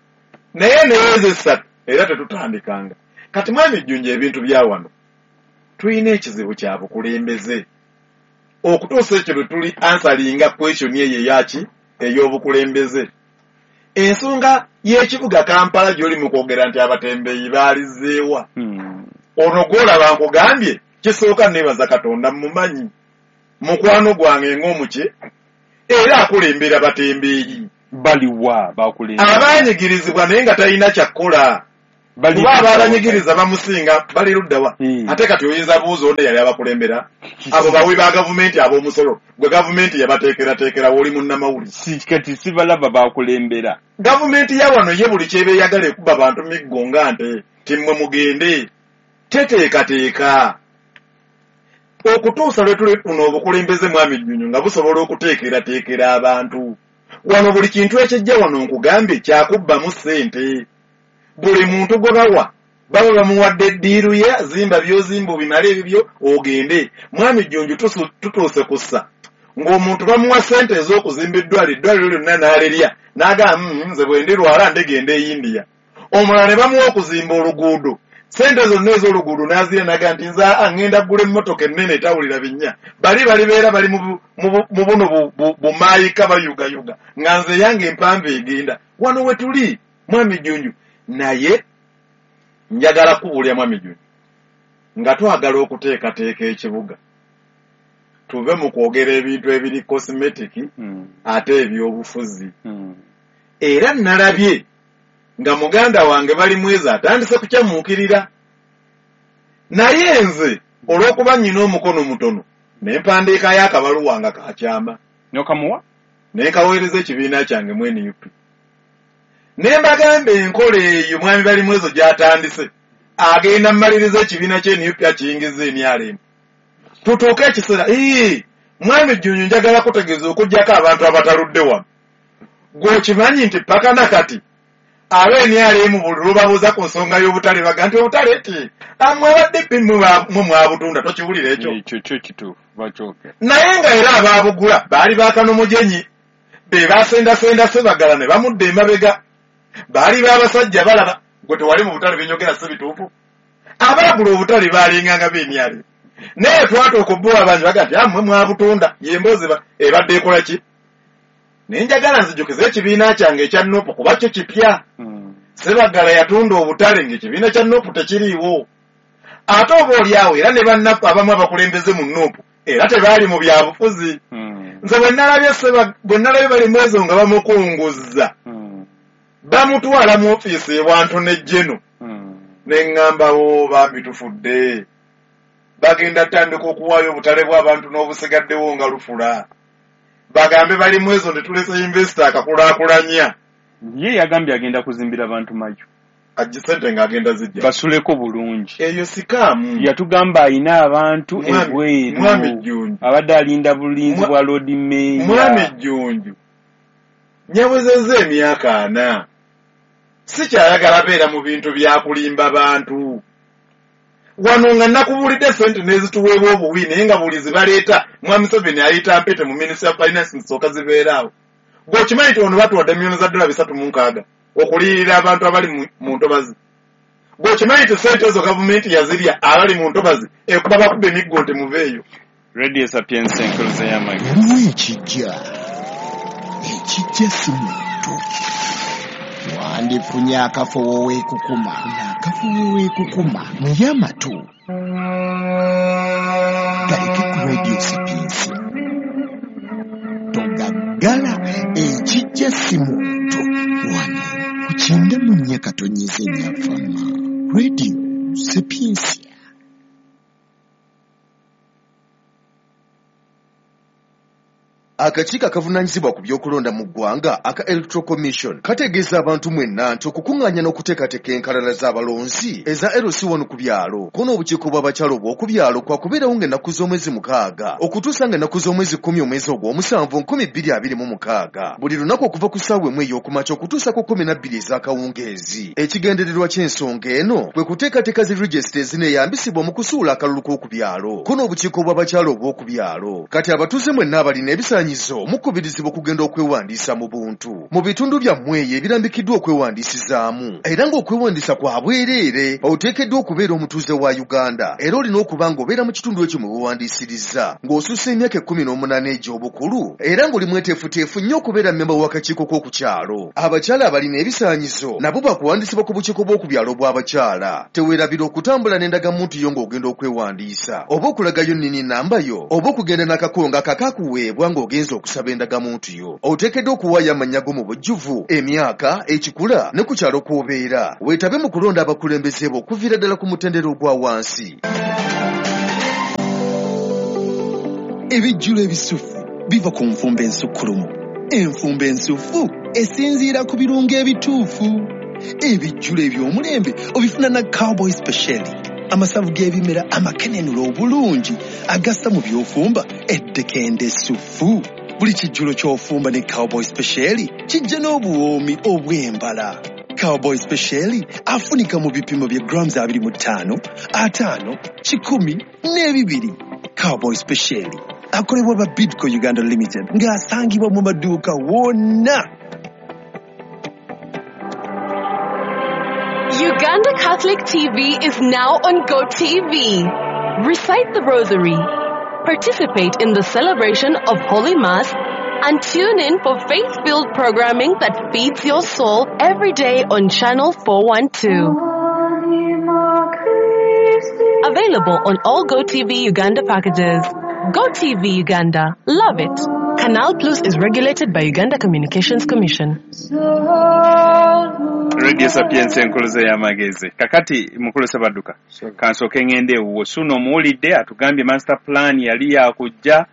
Naye ezo 3 era tetutandikanga. Kati Mwami Jjunju, ebintu bya wano tulina ekizibu kya bukulembeze. Okutuusa ekyo lwe tuli ansalinga question eyo eyaki ey'obukulembeze. Ensonga y'ekibuga Kampala gy'oli mu kwogera nti abatembeeyi baalizzeewa. Ono gw'olaba nkugambye Ekisooka neebaza Katonda, mumanyi mukwano gwange ng'omuki, era akulembera batembeeyi. Baliwa bakulembera? Abanyigirizibwa naye nga talina kyakkola. Kuba ababanyigiriza bamusinga bali luddawa? Ate kati oyinza buuza ono yali abakulembera, abo bawi ba gavumenti ab'omusolo gwe gavumenti yabateekerateekera, w'oli munnamawulire. Kati sibalaba bakulembera. Gavumenti ya wano ye buli kyeba eyagala ekuba bantu miggo nga nte, timmwe mugende, teteekateeka. Okutuusa lwe tulifuna obukulembeze, Mwami Jjunju, nga busobola okuteekerateekera abantu. Wano buli kintu ekijja wano nkugambye kyakubbamu ssente. Buli muntu gwe bawa baba bamuwadde eddiiru ye, zimba by'ozimba obimale ebibyo ogende. Mwami Jjunju, tutuuse ku ssa ng'omuntu bamuwa ssente ez'okuzimba eddwaliro, eddwaliro lyonna n'alirya n'agamba, nze bwe ndirwala ndigenda e India." Omulala ne bamuwa okuzimba oluguudo, ssente zonna ez'oluguudo n'azirya n'agamba nti, "Nze aa ŋŋenda ggula emmotoka ennene etawulira binnya, bali balibeera bali mu buno bumaayika bayugayuga, nga nze yange empanvu egenda." Wano we tuli, Mwami Jjunju. Naye njagala kubuulira, Mwami Jjunju, nga twagala okuteekateeka ekibuga, tuve mu kwogera ebintu ebiri cosmetic ate ebyobufuzi. Era nalabye nga muganda wange Balimwezo atandise kukyamuukirira, naye nze olw'okuba nnyina omukono mutono ne mpandiikayo akabaluwa nga kakyama. Nokamuwa? Ne nkaweereza ekibiina kyange mu NUP, ne mbagamba enkola eyo Mwami Balimwezo gy'atandise agenda mmaliriza ekibiina kye NUP akiyingiza NRM. Tutuuke ekiseera, Mwami Jjunju, njagala kutegeeza okuggyako abantu abataludde wano, gw'okimanyi nti paka nakati aba NRM buli lwebabuuza ku nsonga y'obutale baga nti obutale ti amwe abadde pi mwe mwabutunda. Tokiwulira ekyo? Ekyo kyo kituufu, bakyogera. Naye nga era abaabugula baali bakanomujenyi be basendasenda Sebagala ne bamudda emabega, baali babasajja balaba gwe tewali mu butale. Binyogera si bituufu? Abaagula obutale baalinganga b'NRM, naye twatuuka obbuwa abangi baga nti amwe mwabutunda. Yemboozi ebadde ekola ki? Naye njagala nzijukize ekibiina kyange ekya NUP, kuba kyo kipya. Sebagala yatunda obutale ng'ekibiina kya NUP tekiriiwo, ate oba oli awo era ne bannaffe abamu abakulembeze mu NUP era tebaali mu byabufuzi. Nze bwe nalabye Balimwezo nga bamukunguza, bamutwala mu ofiisi ewantu ne jeno, ne ŋŋambawo bambi tufudde, bagenda tandika okuwaayo obutale bw'abantu n'obusigaddewo nga lufula, bagambe Balimwezo nti tulese investor akakulaakulanya. Ye yagambye agenda kuzimbira abantu mayu. Ajje sente ng'agenda zijja basuleko bulungi. Eyo scam. Yatugamba ayina abantu ebweru. Mwami Jjunju, abadde alinda bulinzi bwa Lord Mayor. Mwami Jjunju, nyawezezza emyaka 40, sikyayagala beera mu bintu byakulimba bantu. Wano nga nakubuulidde sente n'ezituweebwa obuwi, naye nga buli zibaleeta Mwami Museveni ayita mpete mu Ministry of Finance nsooka zibeeraawo. Gw'okimanyi nti wano batuwadde miliyoni za dola 360 okuliyirira abantu abali mu ntobazi? Gw'okimanyi nti sente ezo gavumenti yazirya? Abali mu ntobazi ekuba bakuba emiggo nti muveeyo. Radio Sapientia, enkuluze y'amagezi. Waliwo ekijja, ekijja si muntu. Wandifunye akafo woweekukuma, akafo woweekukuma naye amatu galeke ku Radio Sapientia, togaggala. Ekijja si muntu, wano ku 94.4 fama Radio Sapientia. Akakiiko akavunaanyizibwa ku by'okulonda mu ggwanga aka Electoral Commission kategeeza abantu mwenna nti okukuŋŋaanya n'okuteekateeka enkalala z'abalonzi eza LC1 ku byalo ko n'obukiiko bw'abakyala obw'oku byalo kwakubeerawo ng'ennaku z'omwezi 6 okutuusa ng'ennaku z'omwezi 10 omwezi ogw'omusanvu 2026, buli lunaku okuva ku ssaawa 1 ey'okumakya okutuusa ku 12 ez'akawungeezi. Ekigendererwa ky'ensonga eno kwe kuteekateeka zi regisita ezineeyambisibwa mu kusuula akalulu k'oku byalo ko n'obukiiko bw'abakyala obw'oku byalo. Kati abatuuze mwenna abalina ebisaanyizo ebisaanyizo mukubirizibwa okugenda okwewandiisa mu buntu mu bitundu byammwe eyo ebirambikiddwa okwewandiisizaamu, era ng'okwewandiisa kwa bwereere. Oteekeddwa okubeera omutuuze wa Uganda era olina okuba ng'obeera mu kitundu ekyo mwe weewandiisiriza, ng'osussa emyaka 18 egy'obukulu, era ng'oli mweteefuteefu nnyo okubeera mmemba w'akakiiko k'oku kyalo. Abakyala abalina ebisaanyizo nabo bakuwandiisibwa ku bukiiko bw'oku byalo bw'abakyala. Teweerabira okutambula n'endagamuntu yo ng'ogenda okwewandiisa, oba okulagayo nnini namba yo, oba okugenda n'akakongo akakakuweebwa ng'ogenze okusaba endagamuntu yo. Oteekeddwa okuwaayo amannya go mu bujjuvu, emyaka, ekikula ne ku kyalo kw'obeera. Weetabe mu kulonda abakulembeze bo okuviira ddala ku mutendera ogwa wansi. Ebijjulo ebisufu biva ku nfumba ensukkulumu. Enfumba ensufu esinziira ku birungo ebituufu. Ebijjulo eby'omulembe obifuna na Cowboy Speciali, amasavu g'ebimera amakenenula obulungi agassa mu by'ofumba eddekende essufu. Buli kijjulo ky'ofumba ne Cowboy Speciali kijja n'obuwoomi obw'embala. Cowboy Speciali afunika mu bipimo bya grams 25, 50, 100 n'ebibiri. Cowboy Speciali akolebwa ba Bidco Uganda Limited ng'asangibwa mu maduuka wonna. Uganda Catholic TV is now on GoTV. Recite the Rosary, participate in the celebration of Holy Mass, and tune in for faith-filled programming that feeds your soul every day on Channel 412. Available on all GoTV Uganda packages. GoTV Uganda. Love it. Canal Plus is regulated by Uganda Communications Commission. Radio Sapiens enkuluze y'amagezi. Kakati mukulu Ssebadduka, kansooke ngende ewuwo. Suuna omuwulidde atugambye master plan yali yakujja,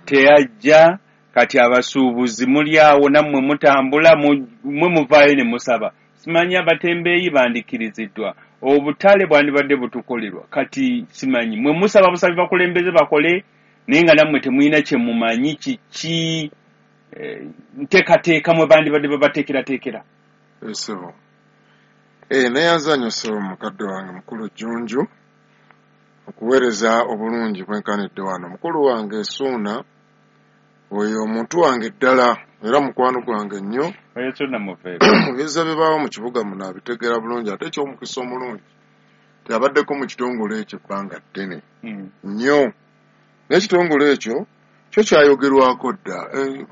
teyajja. Kati abasuubuzi muli awo nammwe mutambula, mwe muvaayo ne musaba. Simanyi abatembeeyi bandikkiriziddwa, obutale bwandibadde butukolerwa. Kati simanyi mwe musaba busabi bakulembeze bakole, naye nga nammwe temulina kye mumanyi kiki nteekateeka mwe bandibadde babateekerateekera. Ssebo. Neyanza nnyo ssebo mukadde wange mukulu Jjunju okuweereza obulungi bwenkanidde wano. Mukulu wange Suuna oyo omuntu wange ddala era mukwano gwange nnyo. Oyo Suuna muveeko. Ebizza bibaawo mu kibuga muno abitegeera bulungi, ate eky'omukisa omulungi teyabaddeko mu kitongole ekyo ebbanga ddene nnyo. N'ekitongole ekyo kyo kyayogerwako dda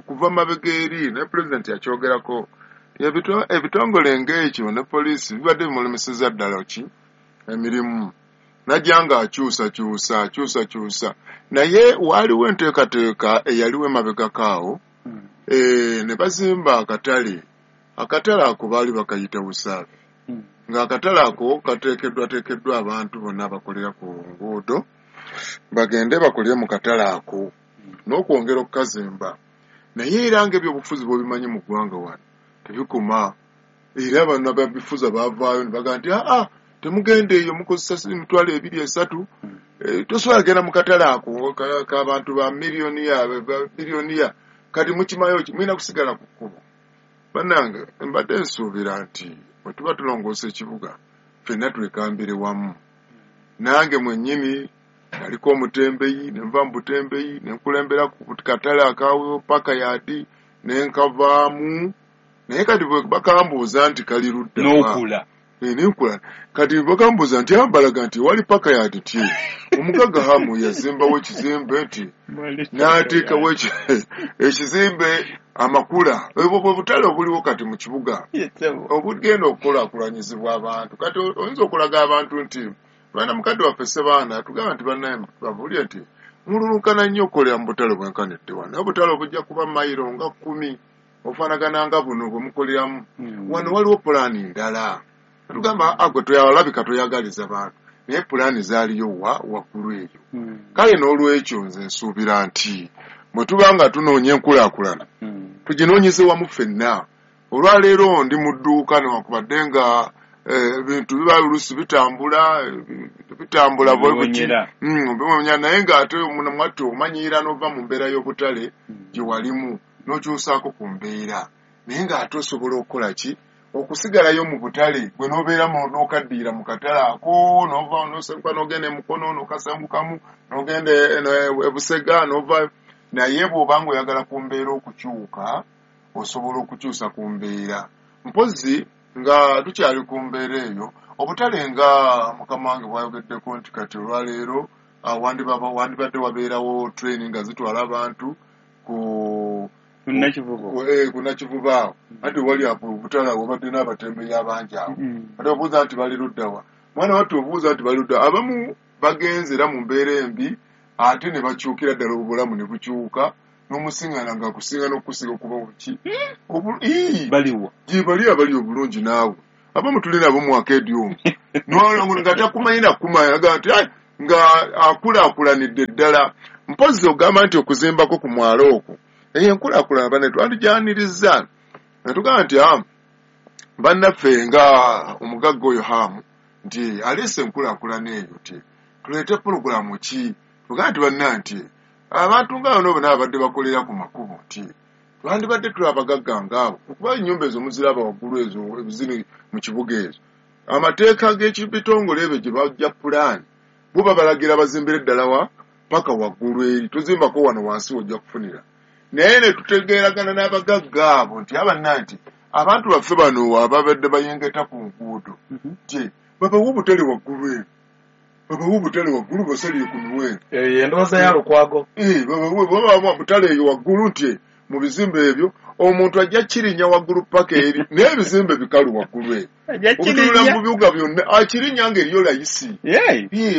kuva mabega eri, ne pulezidenti yakyogerako. Ebitongole ng'ekyo ne poliisi bibadde bimulemeseza ddala ki emirimu. Najja nga akyusakyusa, naye waaliwo enteekateeka eyaliwo emabegako awo, ne bazimba akatale. Akatale ako baali bakayita Busaafi, ng'akatale ako kateekeddwateekeddwa abantu bonna abakolera ku nguudo bagende bakolere mu katale ako n'okwongera okukazimba. Naye era ng'ebyobufuzi bw'obimanyi mu ggwanga wano tebikoma, era bano ababifuza baavaayo ne bagamba nti aa temugenda eyo, mukozesa 20,000 3,000, tosobola genda mu katale ako k'abantu ba miliyoniya biliyoniya, kati mukimayo ki mulina kusigala ku kkubo. Bannange mbadde nsuubira nti bwe tuba tulongoosa ekibuga ffenna twekambire wamu. Nange mwennyini naliko omutembeyi, ne nva mu butembeyi ne nkulembera ku katale aka paka yaadi ne nkavaamu. Naye kati bwe bakambuuza nti kali ludda wa? N'okula. Nenkula. Kati bakambuuza nti ambalaga nti wali paka yaadi ti omugagga Hamu yazimbawo ekizimbe nti n'ateekawo ekizimbe amakula. Obwo bwe butale obuliwo kati mu kibuga obugenda okukulaakulanyizibwa abantu. Kati oyinza okulaga abantu nti baana mukadde waffe Ssebaana tugamba nti bannaye babuulire nti mululunkana nnyo okukolera mu butale bwenkanidde wano. Naye obutale obujja kuba mayiro nga 10 obufaanagana nga buno bwe mukoleramu. Wano waliwo pulaani ndala. Tugamba agwe toyalabika toyagaliza bantu, naye pulaani zaaliyo wa waggulu eyo. Kale n'olwekyo nze nsuubira nti bwe tuba nga tunoonya enkulaakulana tuginoonyeze wamu ffenna. Olwaleero ndi mu dduuka newankubadde nga ebintu biba oluusi bitambula bitambula Biwonyera. Biwonyera, naye ng'ate mwattu omanyiira n'ova mu mbeera y'obutale gye walimu n'okyusaako ku mbeera, naye ng'ate osobola okukola ki okusigalayo mu butale gwe n'obeera n'okaddiira mu katale ako, n'ova n'osenguka n'ogenda e Mukono n'okasengukamu n'ogenda e Busega n'ova. Naye bw'obanga oyagala ku mbeera okukyuka, osobola okukyusa ku mbeera. Mpozzi nga tukyali ku mbeera eyo, obutale nga mukama wange bwayogeddeko nti kati olwaleero wandibadde wabeerawo train nga zitwala abantu ku Nakivubo awo, anti wali obutale awo wabadde n'abatembeeyi abangi awo. Ate obuuza nti bali ludda wa? Mwana wattu obuuza nti bali ludda, abamu bagenze era mu mbeera embi, ate ne bakyukira ddala obulamu ne bukyuka, n'omusiŋŋaana ng'akusinga n'okukusinga okuba buki. Baliwa? Gye bali abali obulungi naawe. Abamu tuli nabo mu akeedi omwo. Nga takumanyi na kukumanya, agamba nti nga akulaakulanidde ddala. Mpozzi ogamba nti okuzimbako ku mwalo okwo, eyo enkulaakulana banne twandijanirizza. Ne tugamba nti bannaffe nga omugagga oyo Hamu nti aleese enkulaakulana eyo nti tuleete pulogulaamu ki? Tugamba nti banna nti abantu nga bano bonna abadde bakolera ku makubo nti twandibadde tuli abagagga ngaabo, okuba ennyumba ezo muziraba waggulu ezo ziri mu kibuga ezo. Amateeka g'ebitongole ebyo gye bajja pulaani bo babalagira bazimbire ddala wa paka waggulu eri, tozimbako wano wansi w'ojja kufunira. Naye ne tutegeeragana n'abagagga abo nti abanna nti abantu baffe bano ababadde bayengeta ku nguudo nti babawe obutale waggulu eri, babawe obutale waggulu basalire ku miwendo. Eyo endowooza ya Lukwago. Babawe obutale eyo waggulu nti mu bizimbe ebyo omuntu ajja kirinnya waggulu paka eri, naye ebizimbe bikalu waggulu eri. Okutunula mu bibuga byonna akirinnya ng'eriyo layisi.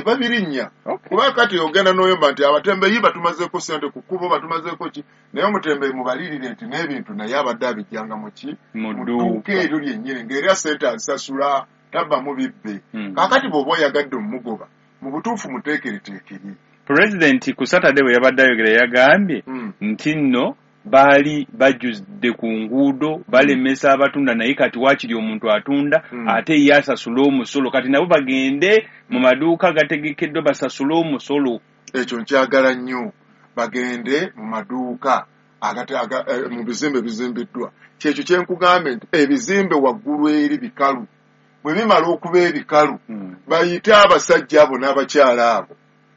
Babirinnya. Kuba kati ogenda n'oyomba nti abatembeeyi batumazeeko ssente ku kkubo, batumazeeko ki, naye omutembeeyi mubalirire nti n'ebintu naye abadde abijjanga mu ki? Mu dduuka eryo lyennyini ng'era ssente azisasula tabbamu bibbe. Kaakati bw'oba oyagadde omugoba mu butuufu muteekereteekere. Pulezidenti ku Saturday bwe yabadde ayogera yagambye nti nno baali bajjudde ku nguudo balemesa abatunda, naye kati waakiri omuntu atunda ate ye asasula omusolo. Kati nabo bagende mu maduuka gategekeddwa basasule omusolo. Ekyo nkyagala nnyo, bagende mu maduuka mu bizimbe bizimbiddwa. Kyekyo kye nkugambye nti ebizimbe waggulu eri bikalu. Bwe bimala okuba ebikalu, bayite abasajja abo n'abakyala abo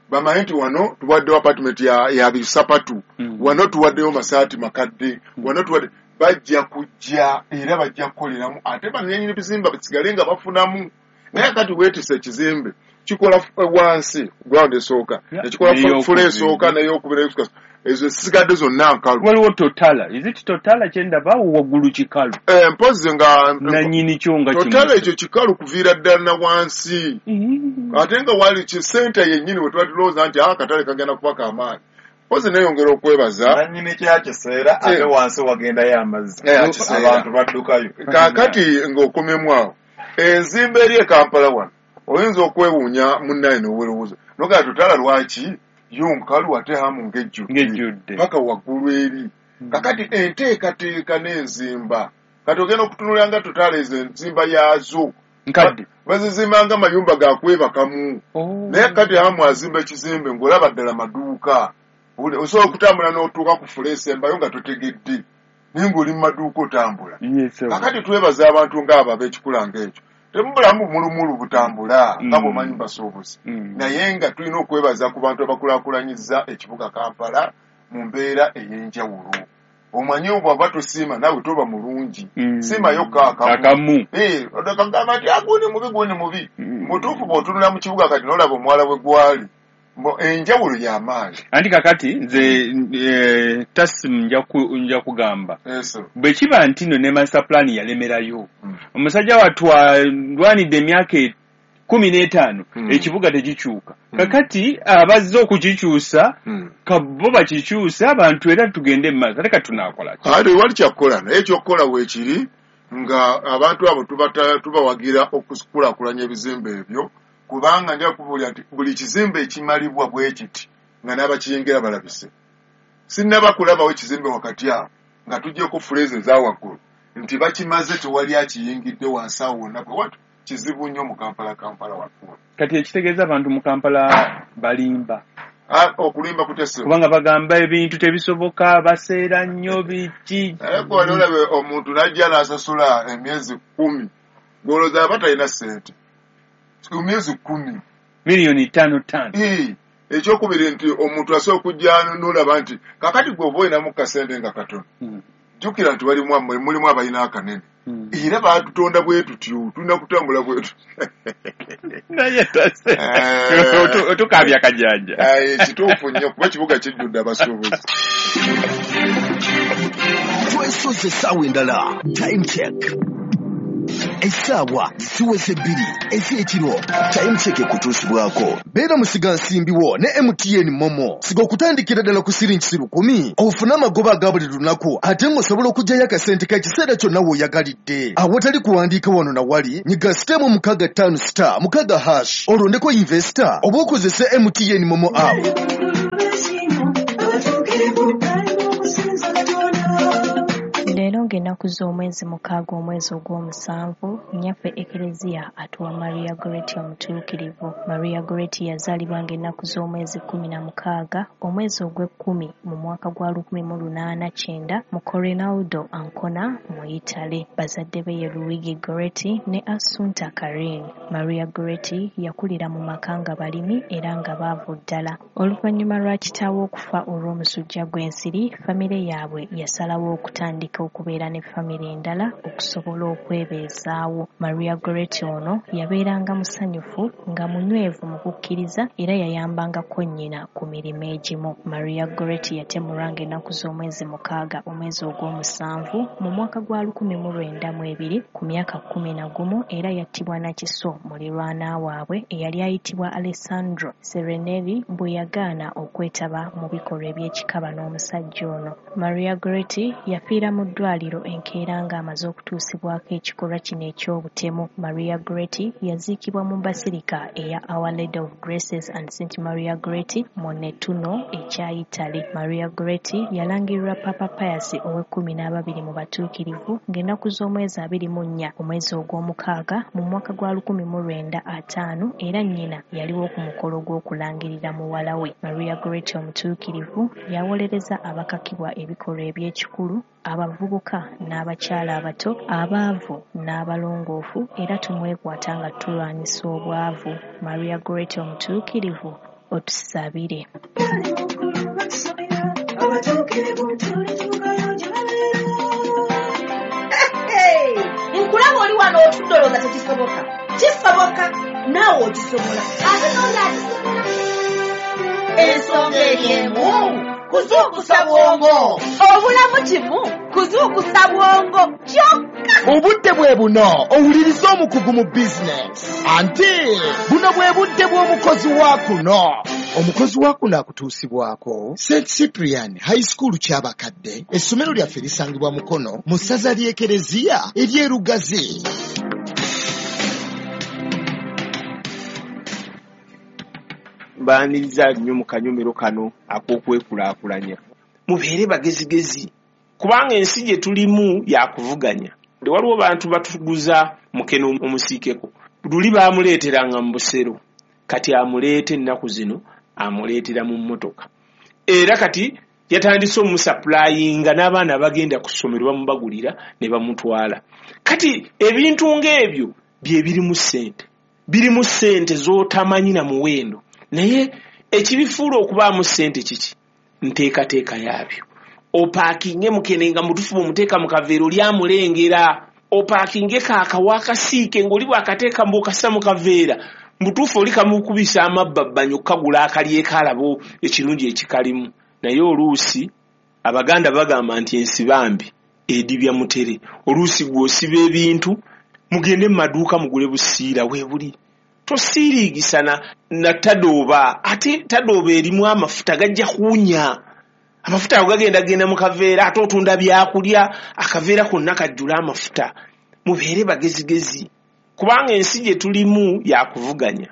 bamanye nti wano tuwaddewo apartment ya bisapatu, wano tuwaddeyo masaati makadde, wano tuwadde, bajja kujja era bajja kukoleramu, ate bannannyini bizimbe basigale nga bafunamu. Naye kati weetisse ekizimbe kikola wansi ground esooka, ekikola fula esooka n'eyokubiri n'eyokusatu, ezo zisigadde zonna nkalu. Waliwo Totala, is it Totala kyendaba waggulu kikalu? Mpozzi nga nannyini kyo nga Totala ekyo kikalu kuviira ddala na wansi. Ate nga wali kisenta yennyini we tuba tulowooza nti akatale kagenda kuba k'amaanyi. Mpozzi neeyongera okwebaza nannyini kyakiseera ate wansi wagendayo amazzi, abantu baddukayo. Kaakati ng'okomyemu awo, enzimba eri e Kampala wano oyinza okwewuunya munnaye n'owerowooza nogamba Totala lwaki yo nkalu ate Hamu ng'ejjudde paka waggulu eri. Kakati enteekateeka n'enzimba, kati ogenda okutunulira nga Totala ezo enzimba yaazo nkadde, bazizimba nga mayumba ga kwebakamu. Naye kati Hamu azimba ekizimbe ng'olaba ddala maduuka, osobola okutambula n'otuuka ku fula esembayo nga totegedde, naye ng'oli mu maduuka otambula. Kakati twebaza abantu ng'abo ab'ekikula ng'ekyo. Temubulamu mulumulu butambula nga bw'omanyi basuubuzi, naye nga tulina okwebaza ku bantu abakulaakulanyizza ekibuga Kampala mu mbeera ey'enjawulo. Omanyi bw'oba tosiima naawe toba mulungi, siimayo akamu. Kagamba nti gundi mubi, gundi mubi. Mutuufu bw'otunula mu kibuga kati n'olaba omuwala we gwali, enjawulo y'amaanyi. Anti kakati nze Tasimu nja kugamba bwe kiba nti nno ne master plan yalemerayo, omusajja wattu alwanidde emyaka 15 ekibuga tekikyuka. Kakati abazze okukikyusa bo bakikyusa abantu era tugende mu maaso. Ate kati tunaakola ki? Ate wali kyakukola, naye ekyokukola weekiri nga abantu abo tubawagira okukulaakulanya ebizimbe ebyo, kubanga nja kubuulira nti buli kizimbe ekimalibwa bwe kiti nga n'abakiyingira balabise. Sinnaba kulabawo ekizimbe wakati awo nga tuggyeko fuleezi eza waggulu nti bakimaze tewali akiyingidde wansi awo wonna bwe watyo. Kizibu nnyo mu Kampala, Kampala waggulu. Kati ekitegeeza abantu mu Kampala balimba. Okulimba kutese. Kubanga bagamba ebintu tebisoboka, baseera nnyo biki. Naye gwe wali olabe omuntu n'ajja n'asasula emyezi 10, gw'olowooza aba talina ssente. Ku myezi 10. Miliyoni 5 5. Ekyokubiri nti omuntu asobola okujja n'olaba nti kakati gwe oba olinamu kasente nga katono, jjukira nti mulimu abalina akanene, era baatutonda bwe tutyo, tulina kutambula bwe tutyo. Naye otukaabya kajanja. Kituufu nnyo, kuba ekibuga kijjudde abasuubuzi. Twesoze essaawa endala, time check. Essaawa ziweze 2 ez'ekiro. Time check ekutuusibwako Beera musigansimbi wo ne MTN Momo. Siga okutandikira ddala ku siringi 1,000 ofune amagoba aga buli lunaku, ate ng'osobola okuggyayo akasente k'ekiseera kyonna w'oyagalidde. Awatali kuwandiika wano na wali, nyiga *656*6# olondeko investor oba okozese MTN Momo app. Leero ng'ennaku z'omwezi 6 omwezi ogw'omusanvu, nnyaffe Ekereziya atuwa Maria Goretti omutuukirivu. Maria Goretti yazaalibwa ng'ennaku z'omwezi 16 omwezi ogw'ekkumi mu mwaka gwa 1890 mu Corinaldo Ancona mu Italy. Bazadde be ye Luigi Goretti ne Assunta Carini. Maria Goretti yakulira mu maka nga balimi era nga baavu ddala. Oluvannyuma lwa kitaawe okufa olw'omusujja gw'ensiri, famire yaabwe yasalawo okutandika okubeera ne famire endala okusobola okwebeezaawo. Maria Goretti ono yabeeranga musanyufu nga munywevu mu kukkiriza era yayambangako nnyina ku mirimu egimu. Maria Goretti yatemulwa ng'ennaku z'omwezi 6 omwezi ogw'omusanvu mu mwaka gwa 1902 ku myaka 11 era yattibwa na kiso mulirwana waabwe eyali ayitibwa Alessandro Serenelli bwe yagaana okwetaba mu bikolwa eby'ekikaba n'omusajja ono. Maria Goretti yafiira mu ddwaliro enkeera ng'amaze okutuusibwako ekikolwa kino eky'obutemu. Maria Goretti yaziikibwa mu basilica eya Our Lady of Graces and St. Maria Goretti mu Nettuno ekya Italy. Maria Goretti yalangirirwa Papa Pius ow'e12 mu batuukirivu ng'ennaku z'omwezi 24 omwezi ogw'omukaaga mu mwaka gwa 1905 era nnyina yaliwo ku mukolo gw'okulangirira muwala we. Maria Goretti omutuukirivu yawolereza abakakibwa ebikolwa eby'ekikulu, abavubuka n'abakyala abato, abaavu n'abalongoofu, era tumwekwata nga tulwanyisa obwavu. Maria Goretti omutuukirivu, otusabire. Nkulaba oli wano otudde olowooza tekisoboka. Kisoboka, naawe okisobola, ate n'oli akisobola. Ensonga eri emu, kuzuukusa bwongo. Obulamu kimu, kuzuukusa bwongo kyokka. Obudde bwe buno owuliriza omukugu mu bizinesi, anti buno bwe budde bw'omukozi wa kuno. Omukozi wa kuno akutuusibwako St. Cyprian High School Kyabakadde. Essomero lyaffe lisangibwa Mukono mu ssaza ly'Ekereziya ery'e Lugazi. Mbaaniriza nnyo mu kanyomero kano ak'okwekulaakulanya. Mubeere bagezigezi, kubanga ensi gye tulimu yakuvuganya. Waliwo bantu batuguza mukene omusiikeko, luli baamuleeteranga mu busero, kati amuleeta ennaku zino amuleetera mu mmotoka. Era kati yatandise omusapulayinga n'abaana abagenda ku ssomero bamubagulira ne bamutwala. Kati ebintu ng'ebyo bye birimu ssente, birimu ssente z'otamanyi na muwendo. Naye ekibifuula okubaamu ssente kiki? Nteekateeka yaabyo. Opaakinge mukene nga mutufu bw'omuteeka mu kaveera oli amulengera. Opaakinge kaakawa akasiike ng'oli bw'akateeka mbw'okassa mu kaveera, mutuufu oli kamukubisa amabbabbanyi okukagula akalyeko alaba ekirungi ekikalimu. Naye oluusi Abaganda bagamba nti ensibambi edibya mutere. Oluusi gw'osiba ebintu, mugende mu maduuka mugule busiira weebuli. Tosiiriigisa na tadooba, ate tadooba erimu amafuta gajja kuwunya. Amafuta ago gagenda genda mu kaveera, ate otunda byakulya, akaveera konna kajjula amafuta. Mubeere bagezigezi, kubanga ensi gye tulimu yakuvuganya.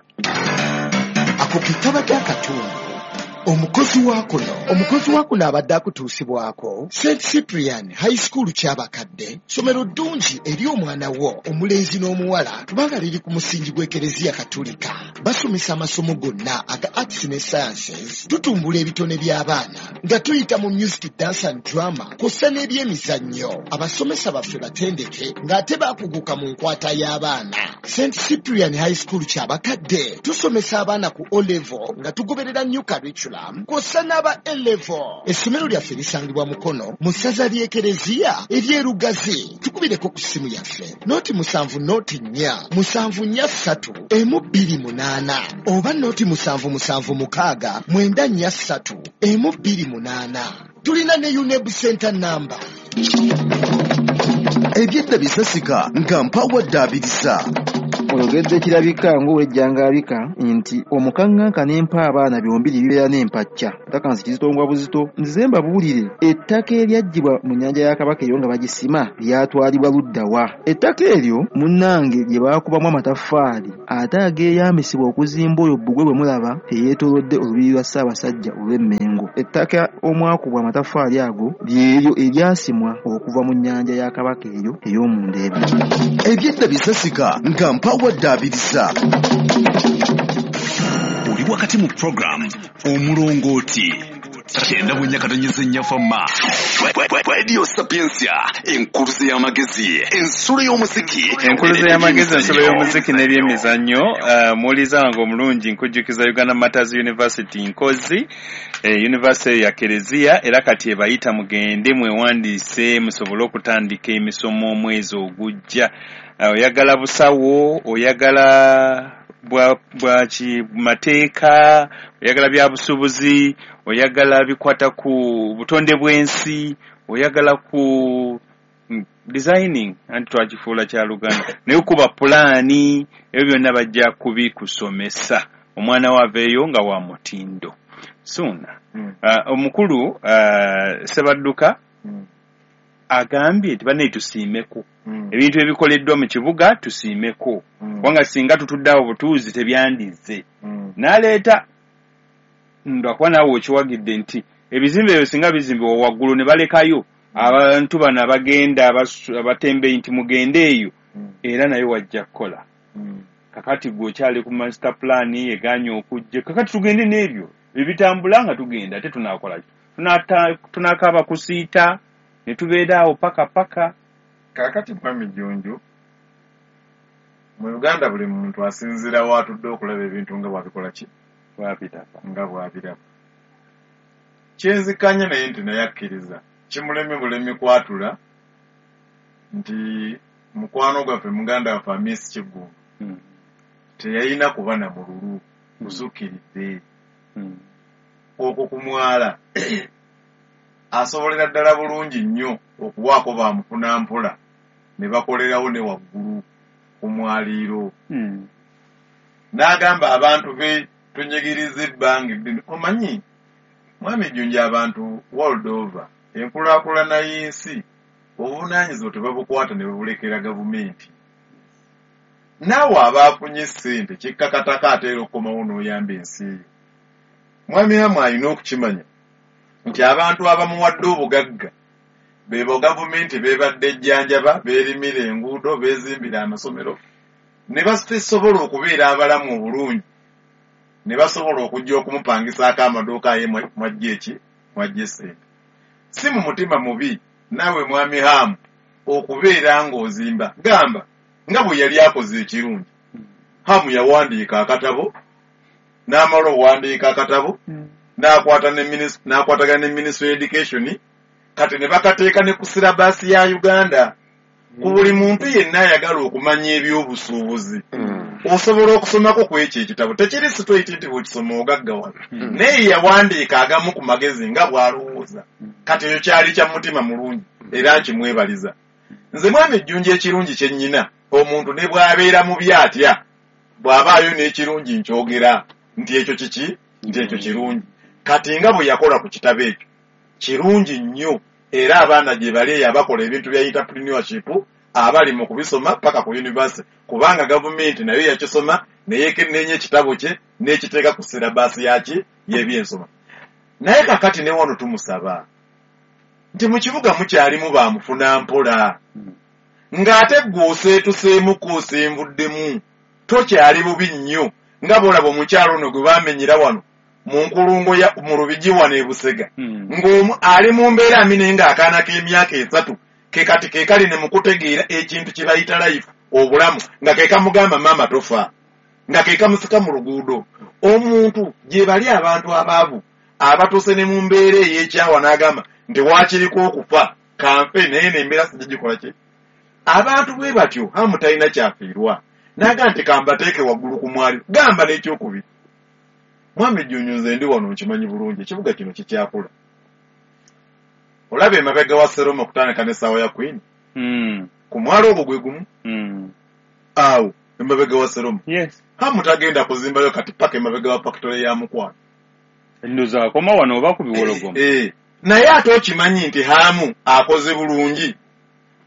Ako ke kabadde akatundu Omukozi wa kuno, omukozi wa kuno abadde akutuusibwako St Cyprian High School Kyabakadde, ssomero ddungi eri omwana wo omulenzi n'omuwala kubanga liri ku musingi gw'Ekereziya Katulika. Basomesa amasomo gonna aga arts ne sciences, tutumbula ebitone by'abaana nga tuyita mu music, dance and drama kw'ossa n'ebyemizannyo. Abasomesa baffe batendeke ng'ate baakuguka mu nkwata y'abaana. St Cyprian High School Kyabakadde tusomesa abaana ku O level nga tugoberera new curriculum kw'ossa n'aba A level. Essomero lyaffe lisangibwa Mukono mu ssaza ly'Ekereziya ery'e Lugazi. Tukubireko ku ssimu yaffe 070 4 743 128 oba 077 694 128. Tulina ne UNEB Center number. Ebyedda bisasika nga mpawadde abirisa. Oyogedde kirabika ng'owejjangabika nti omukaŋŋanka n'empa abaana byombi bibeera n'empacca. Ttaka nsi kizitongwa buzito. Nzize mbabuulire, ettaka eryaggyibwa mu nnyanja ya Kabaka eyo nga bagisima lyatwalibwa ludda wa? Ettaka eryo munnange lye baakubamu amataffaali ate ageeyambisibwa okuzimba oyo bbugwe bwe mulaba eyeetoolodde olubiri lwa Ssaabasajja olw'Emmengo. Ettaka omwakubwa amataffaali ago lyeryo eryasimwa okuva mu nnyanja ya Kabaka eyo ey'omundeebe. Ebyedda bisasika nga mpawadde abirisa. Oli wakati mu program Omulongooti 94.4 Fama Radio Sapientia, enkuluze y'amagezi, ensulo y'omuziki. Enkuluze y'amagezi, ensulo y'omuziki n'ebyemizannyo. Muwuliza wange omulungi, nkujjukiza Uganda Martyrs University Nkozi, University ya Kereziya, era kati ebayita mugende mwewandiise musobole okutandika emisomo omwezi ogujja. Oyagala busawo, oyagala bwa mateeka, oyagala bya busuubuzi, oyagala bikwata ku butonde bw'ensi, oyagala ku designing, anti twakifuula kya Luganda, naye kuba pulaani, ebyo byonna bajja kubikusomesa omwana wo aveeyo nga wa mutindo. Suuna omukulu Ssebadduka agambye nti bannaye tusiimeko ebintu ebikoleddwa mu kibuga, tusiimeko kubanga singa tutudde awo butuuzi tebyandizze. N'aleeta lwakuba naawe okiwagidde nti ebizimbe ebyo singa bizimbibwa waggulu ne balekayo abantu bano abagenda abatembeeyi nti mugende eyo, era naye wajja kukola. Kakati gwe okyali ku master plan egaanye okujja, kakati tugende n'ebyo ebitambula nga tugenda, ate tunaakola ki? Tunaakaaba kusiita ne tubeera awo paka paka. Kaakati Mwami Jjunju, mu Uganda buli muntu asinziira w'atudde okulaba ebintu nga bw'abikola ki? Nga bw'abiraba. Kyenzikanya naye nti naye akkiriza kimulemye bulemi kwatula nti mukwano gwaffe muganda waffe Amisi Kiggundu teyalina kuba na mululu gusukkiridde. Okwo ku mwala asobolera ddala bulungi nnyo okuwaako bamufunampola ne bakolerawo ne waggulu ku mwaliiro. N'agamba abantu be tunyigiriza ebbanga eddene. Omanyi Mwami Jjunju, abantu world over enkulaakulana y'ensi obuvunaanyizibwa tebabukwata ne babulekera gavumenti. Naawe abaafunye ssente kikkakatako ate era okukomawo n'oyamba ensi eyo. Mwami Hamu alina okukimanya nti abantu abamuwadde obugagga bebo gavumenti beebadde ejjanjaba, beerimira enguudo, beezimbira amasomero ne basobola okubeera abalamu obulungi ne basobola okujja okumupangisaako amaduuka aye mwajja eki mwajja essente. Si mu mutima mubi naawe Mwami Hamu okubeera ng'ozimba, gamba nga bwe yali akoze ekirungi. Hamu yawandiika akatabo, n'amala okuwandiika akatabo n'akwatagana ne Ministry of Education, kati ne bakateeka ne ku syllabus ya Uganda. Ku buli muntu yenna ayagala okumanya ebyobusuubuzi osobola okusomako ku ekyo ekitabo. Tekiri straight nti bw'okisoma ogaggawala, naye yawandiika agamu ku magezi nga bw'alowooza. Kati ekyo kyali kya mutima mulungi era nkimwebaliza. Nze Mwami Jjunju ekirungi kye nnyina, omuntu ne bw'abeera mubi atya, bw'abaayo n'ekirungi nkyogera nti ekyo kiki, nti ekyo kirungi. Kati nga bwe yakola ku kitabo ekyo kirungi nnyo, era abaana gye bali eyo abakola ebintu bya entrepreneurship abali mu kubisoma paka ku university, kubanga gavumenti nayo yakisoma neyekenneenya ekitabo kye n'ekiteeka ku syllabus yaki y'ebyensoma. Naye kakati ne wano tumusaba nti mu kibuga mukyalimu bamufuna mpola, ng'ate ggwe oseetuseemuko osenvuddemu, tokyali bubi nnyo nga bw'olaba omukyalo ono gwe baamenyera wano mu nkulungo ya mu Lubigi wano e Busega, ng'omu ali mu mbeera mbi naye ng'akaana k'emyaka 3 ke kati ke kali ne mu kutegeera ekintu kye bayita life, obulamu, nga ke kamugamba maama tofa, nga ke kamusika mu luguudo. Omuntu gye bali abantu abaavu abatuuse ne mu mbeera ey'ekyawa n'agamba nti waakiriko okufa kanfe, naye n'embeera sijja ki. Abantu bwe batyo Hamu talina kyafiirwa, n'agamba nti kambateeke waggulu ku mwaliro. Gamba n'ekyokubiri, Mwami Jjunju, nze ndi wano nkimanyi bulungi ekibuga kino kikyakula. Olaba emabega wa Seroma okutandika n'essaawa ya Queen, ku mwalo ogwo gwe gumu awo emabega wa Seroma. Hamu tagenda kuzimbayo kati paka emabega wa fakitole ya Mukwano. Ndowooza akoma wano oba ku Biwologoma. Naye ate okimanyi nti Hamu akoze bulungi.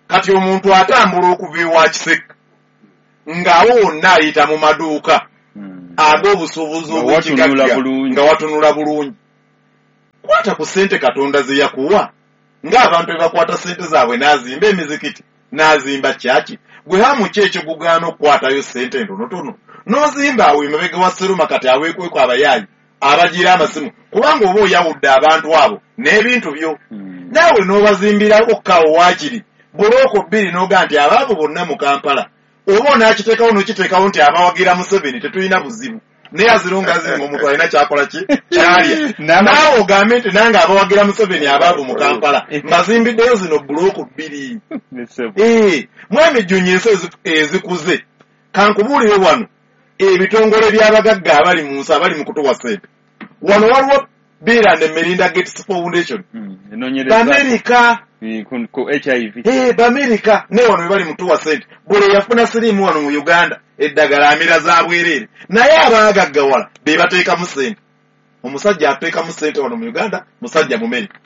Kati omuntu atambula okuva ewa Kiseka ng'awo wonna ayita mu maduuka ag'obusuubuzi Nga watunula obw'ekigagga, bulungi. nga watunula bulungi. Kwata ku ssente Katonda ze yakuwa, ng'abantu bwe bakwata ssente zaabwe n'azimba emizikiti, n'azimba kyaki. Gwe Hamu ki ekikugaana okukwatayo ssente entonotono n'ozimba awo emabega wa Seroma kati aweekweko abayaayi abagira amasimu, kubanga oba oyawudde abantu abo n'ebintu byo, naawe n'obazimbirako kawo waakiri bulooko 2 n'ogaa nti abaavu bonna mu Kampala oba onaakiteekawo n'okiteekawo nti abawagira Museveni tetulina buzibu, naye azirunga azinga omuntu alina kyakola ki kyalya, naawe ogambe nti nange abawagira Museveni abaavu mu Kampala mbazimbiddeyo zino bulooko 2. Mwami Jjunju, ensi ezikuze, kankubuulire wano ebitongole by'abagagga abali mu nsi abali mu kutuwa ssente. Wano waliwo Bill and Melinda Gates Foundation, Bamerika ku HIV. Bamerika ne wano bali mutuwa ssente. Buli yafuna siriimu wano mu Uganda eddagala amira za bwereere, naye abaagaggawala be bateekamu ssente. Omusajja ateekamu ssente wano mu Uganda musajja Mumerika.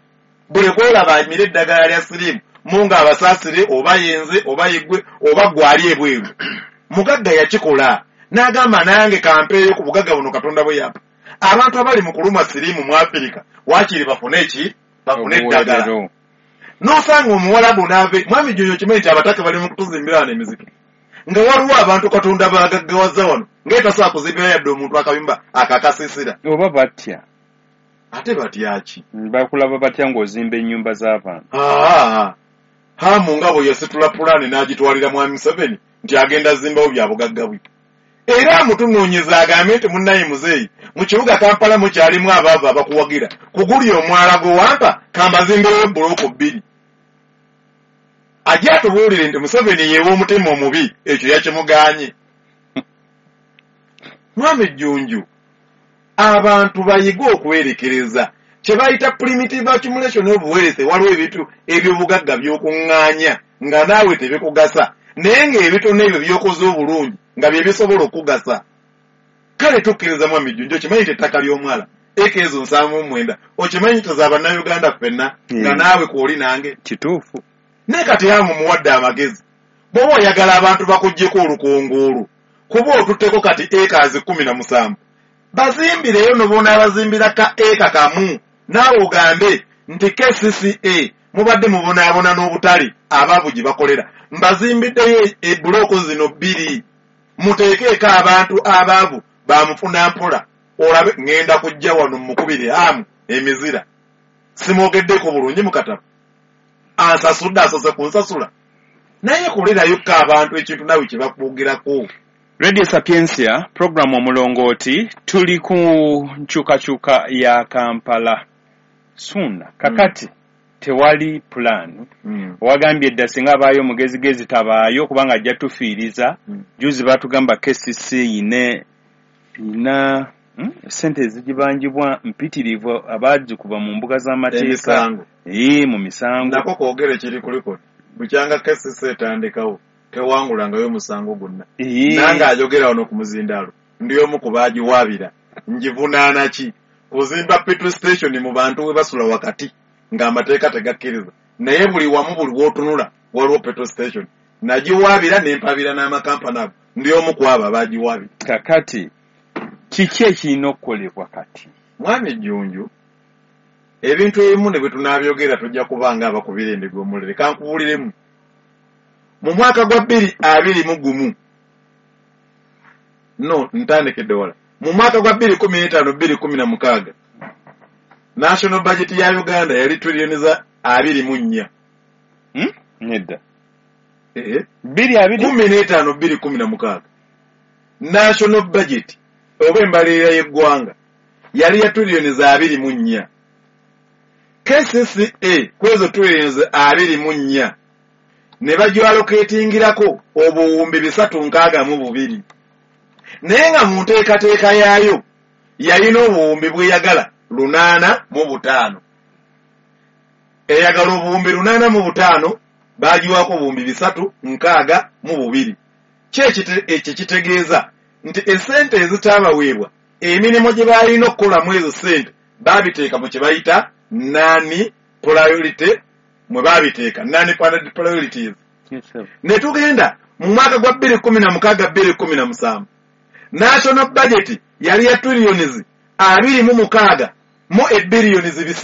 Buli kwolaba amira eddagala lya siriimu munga abasaasire, oba yenze oba yeggwe oba gwali ebweru. Mugagga yakikola n'agamba nange kampeeyo ku bugagga buno Katonda bwe yampa. Abantu abali mu kulumwa siriimu mu Afirika waakiri bafune eki? Bafune eddagala. N'osanga omuwalabu n'ave. Mwami Jjunju, okimanyi nti abataka bali mu kutuzimbira wano emizikiti, nga waliwo abantu Katonda baagaggawaza wano nga etasobola kuzimbira yadde omuntu akayumba akakasiisira. Oba batya? Ate batya ki? Bakulaba batya ng'ozimba ennyumba z'abantu? Hamu nga bwe yasitula pulaani n'agitwalira Mwami Museveni nti agenda zimbawo bya bugagga bwe. Era amutunoonyeza agambe nti munnaye muzeeyi, mu kibuga Kampala mukyalimu abaavu abakuwagira, kuguli omwala gwe wampa kambazimbireyo bulooko 2. Ajja atubuulire nti Museveni yeewa omutima omubi, ekyo yakimugaanye. Mwami Jjunju, abantu bayige okwerekereza kye bayita primitive accumulation of wealth. Waliwo ebintu eby'obugagga by'okuŋŋaanya nga naawe tebikugasa, naye ng'ebitono ebyo by'okoze obulungi nga bye bisobola okugasa. Kale tukkiriza Mwami Jjunju, okimanyi nti ettaka ly'omwala eka ezo 79, okimanyi nti za Bannayuganda ffenna, nga naawe kw'oli nange. Kituufu. Naye kati Hamu muwadde amagezi, bw'oba oyagala abantu bakuggyeko olukongoolo, kuba otutteko kati eka 17, bazimbireyo n'obonaabazimbira ka eka kamu, naawe ogambe nti KCCA mubadde mubonaabona n'obutale abaavu gye bakolera, mbazimbiddeyo ebuloko zino 2, muteekeeko abantu abaavu bamufuna mpola. Olabe ŋŋenda kujja wano mukubire Hamu emizira, simwogeddeko bulungi mu katabo, ansasudde asose kunsasula, naye kolerayokko abantu ekintu naawe kye bakwogerako. Radio Sapientia, programu Omulongooti, tuli ku nkyukakyuka ya Kampala. Suna, kakati tewali pulaani. Wagambye dda singa abaayo omugezigezi tabaayo kubanga ajja tufiiriza. Juzi baatugamba KCC yine ina ssente ezigibanjibwa mpitirivu abaagikuba mu mbuga z'amateeka. Mu misango. Nako kwogere kiri kuliko. Bukyanga KCC etandikawo tewangulangayo omusango gwonna. Nange ayogera wano ku muzindaalo ndi omu ku baagiwaabira. Ngivunaana ki? Kuzimba petrol station mu bantu we basula wakati ng'amateeka tegakkiriza. Naye buli wamu buli w'otunula waliwo petrol station. Nagiwaabira ne mpabira n'amakampani ago. Ndi omu ku abo abaagiwaabira. Kakati kiki ekirina okukolebwa kati? Mwami Jjunju, Ebintu ebimu ne bwe tunaabyogera tujja kuba nga abakubira endiga omulere. Kankubuuliremu, mu mwaka gwa 2021, no ntandikedde wala, mu mwaka gwa 2015 2016 national budget ya Uganda yali trillioni za 24. Nedda. 15 2016 national budget oba embalirira y'eggwanga yali ya trillioni za 24. KCCA kwezo trillioni za 24 ne bagyaloketingirako obuwumbi 362, naye nga mu nteekateeka yaayo yalina obuwumbi bweyagala 805. Eyagala obuwumbi 805, bagiwako obuwumbi 362. Ekyo kitegeeza nti essente ezitaabaweebwa, emirimu gye baalina okukolamu ezo ssente baabiteeka mu kye bayita non priority, mwe baabiteeka non funded priorities. Ne tugenda mu mwaka gwa 2016 2017 national budget yali ya trillions 26 mu ebillions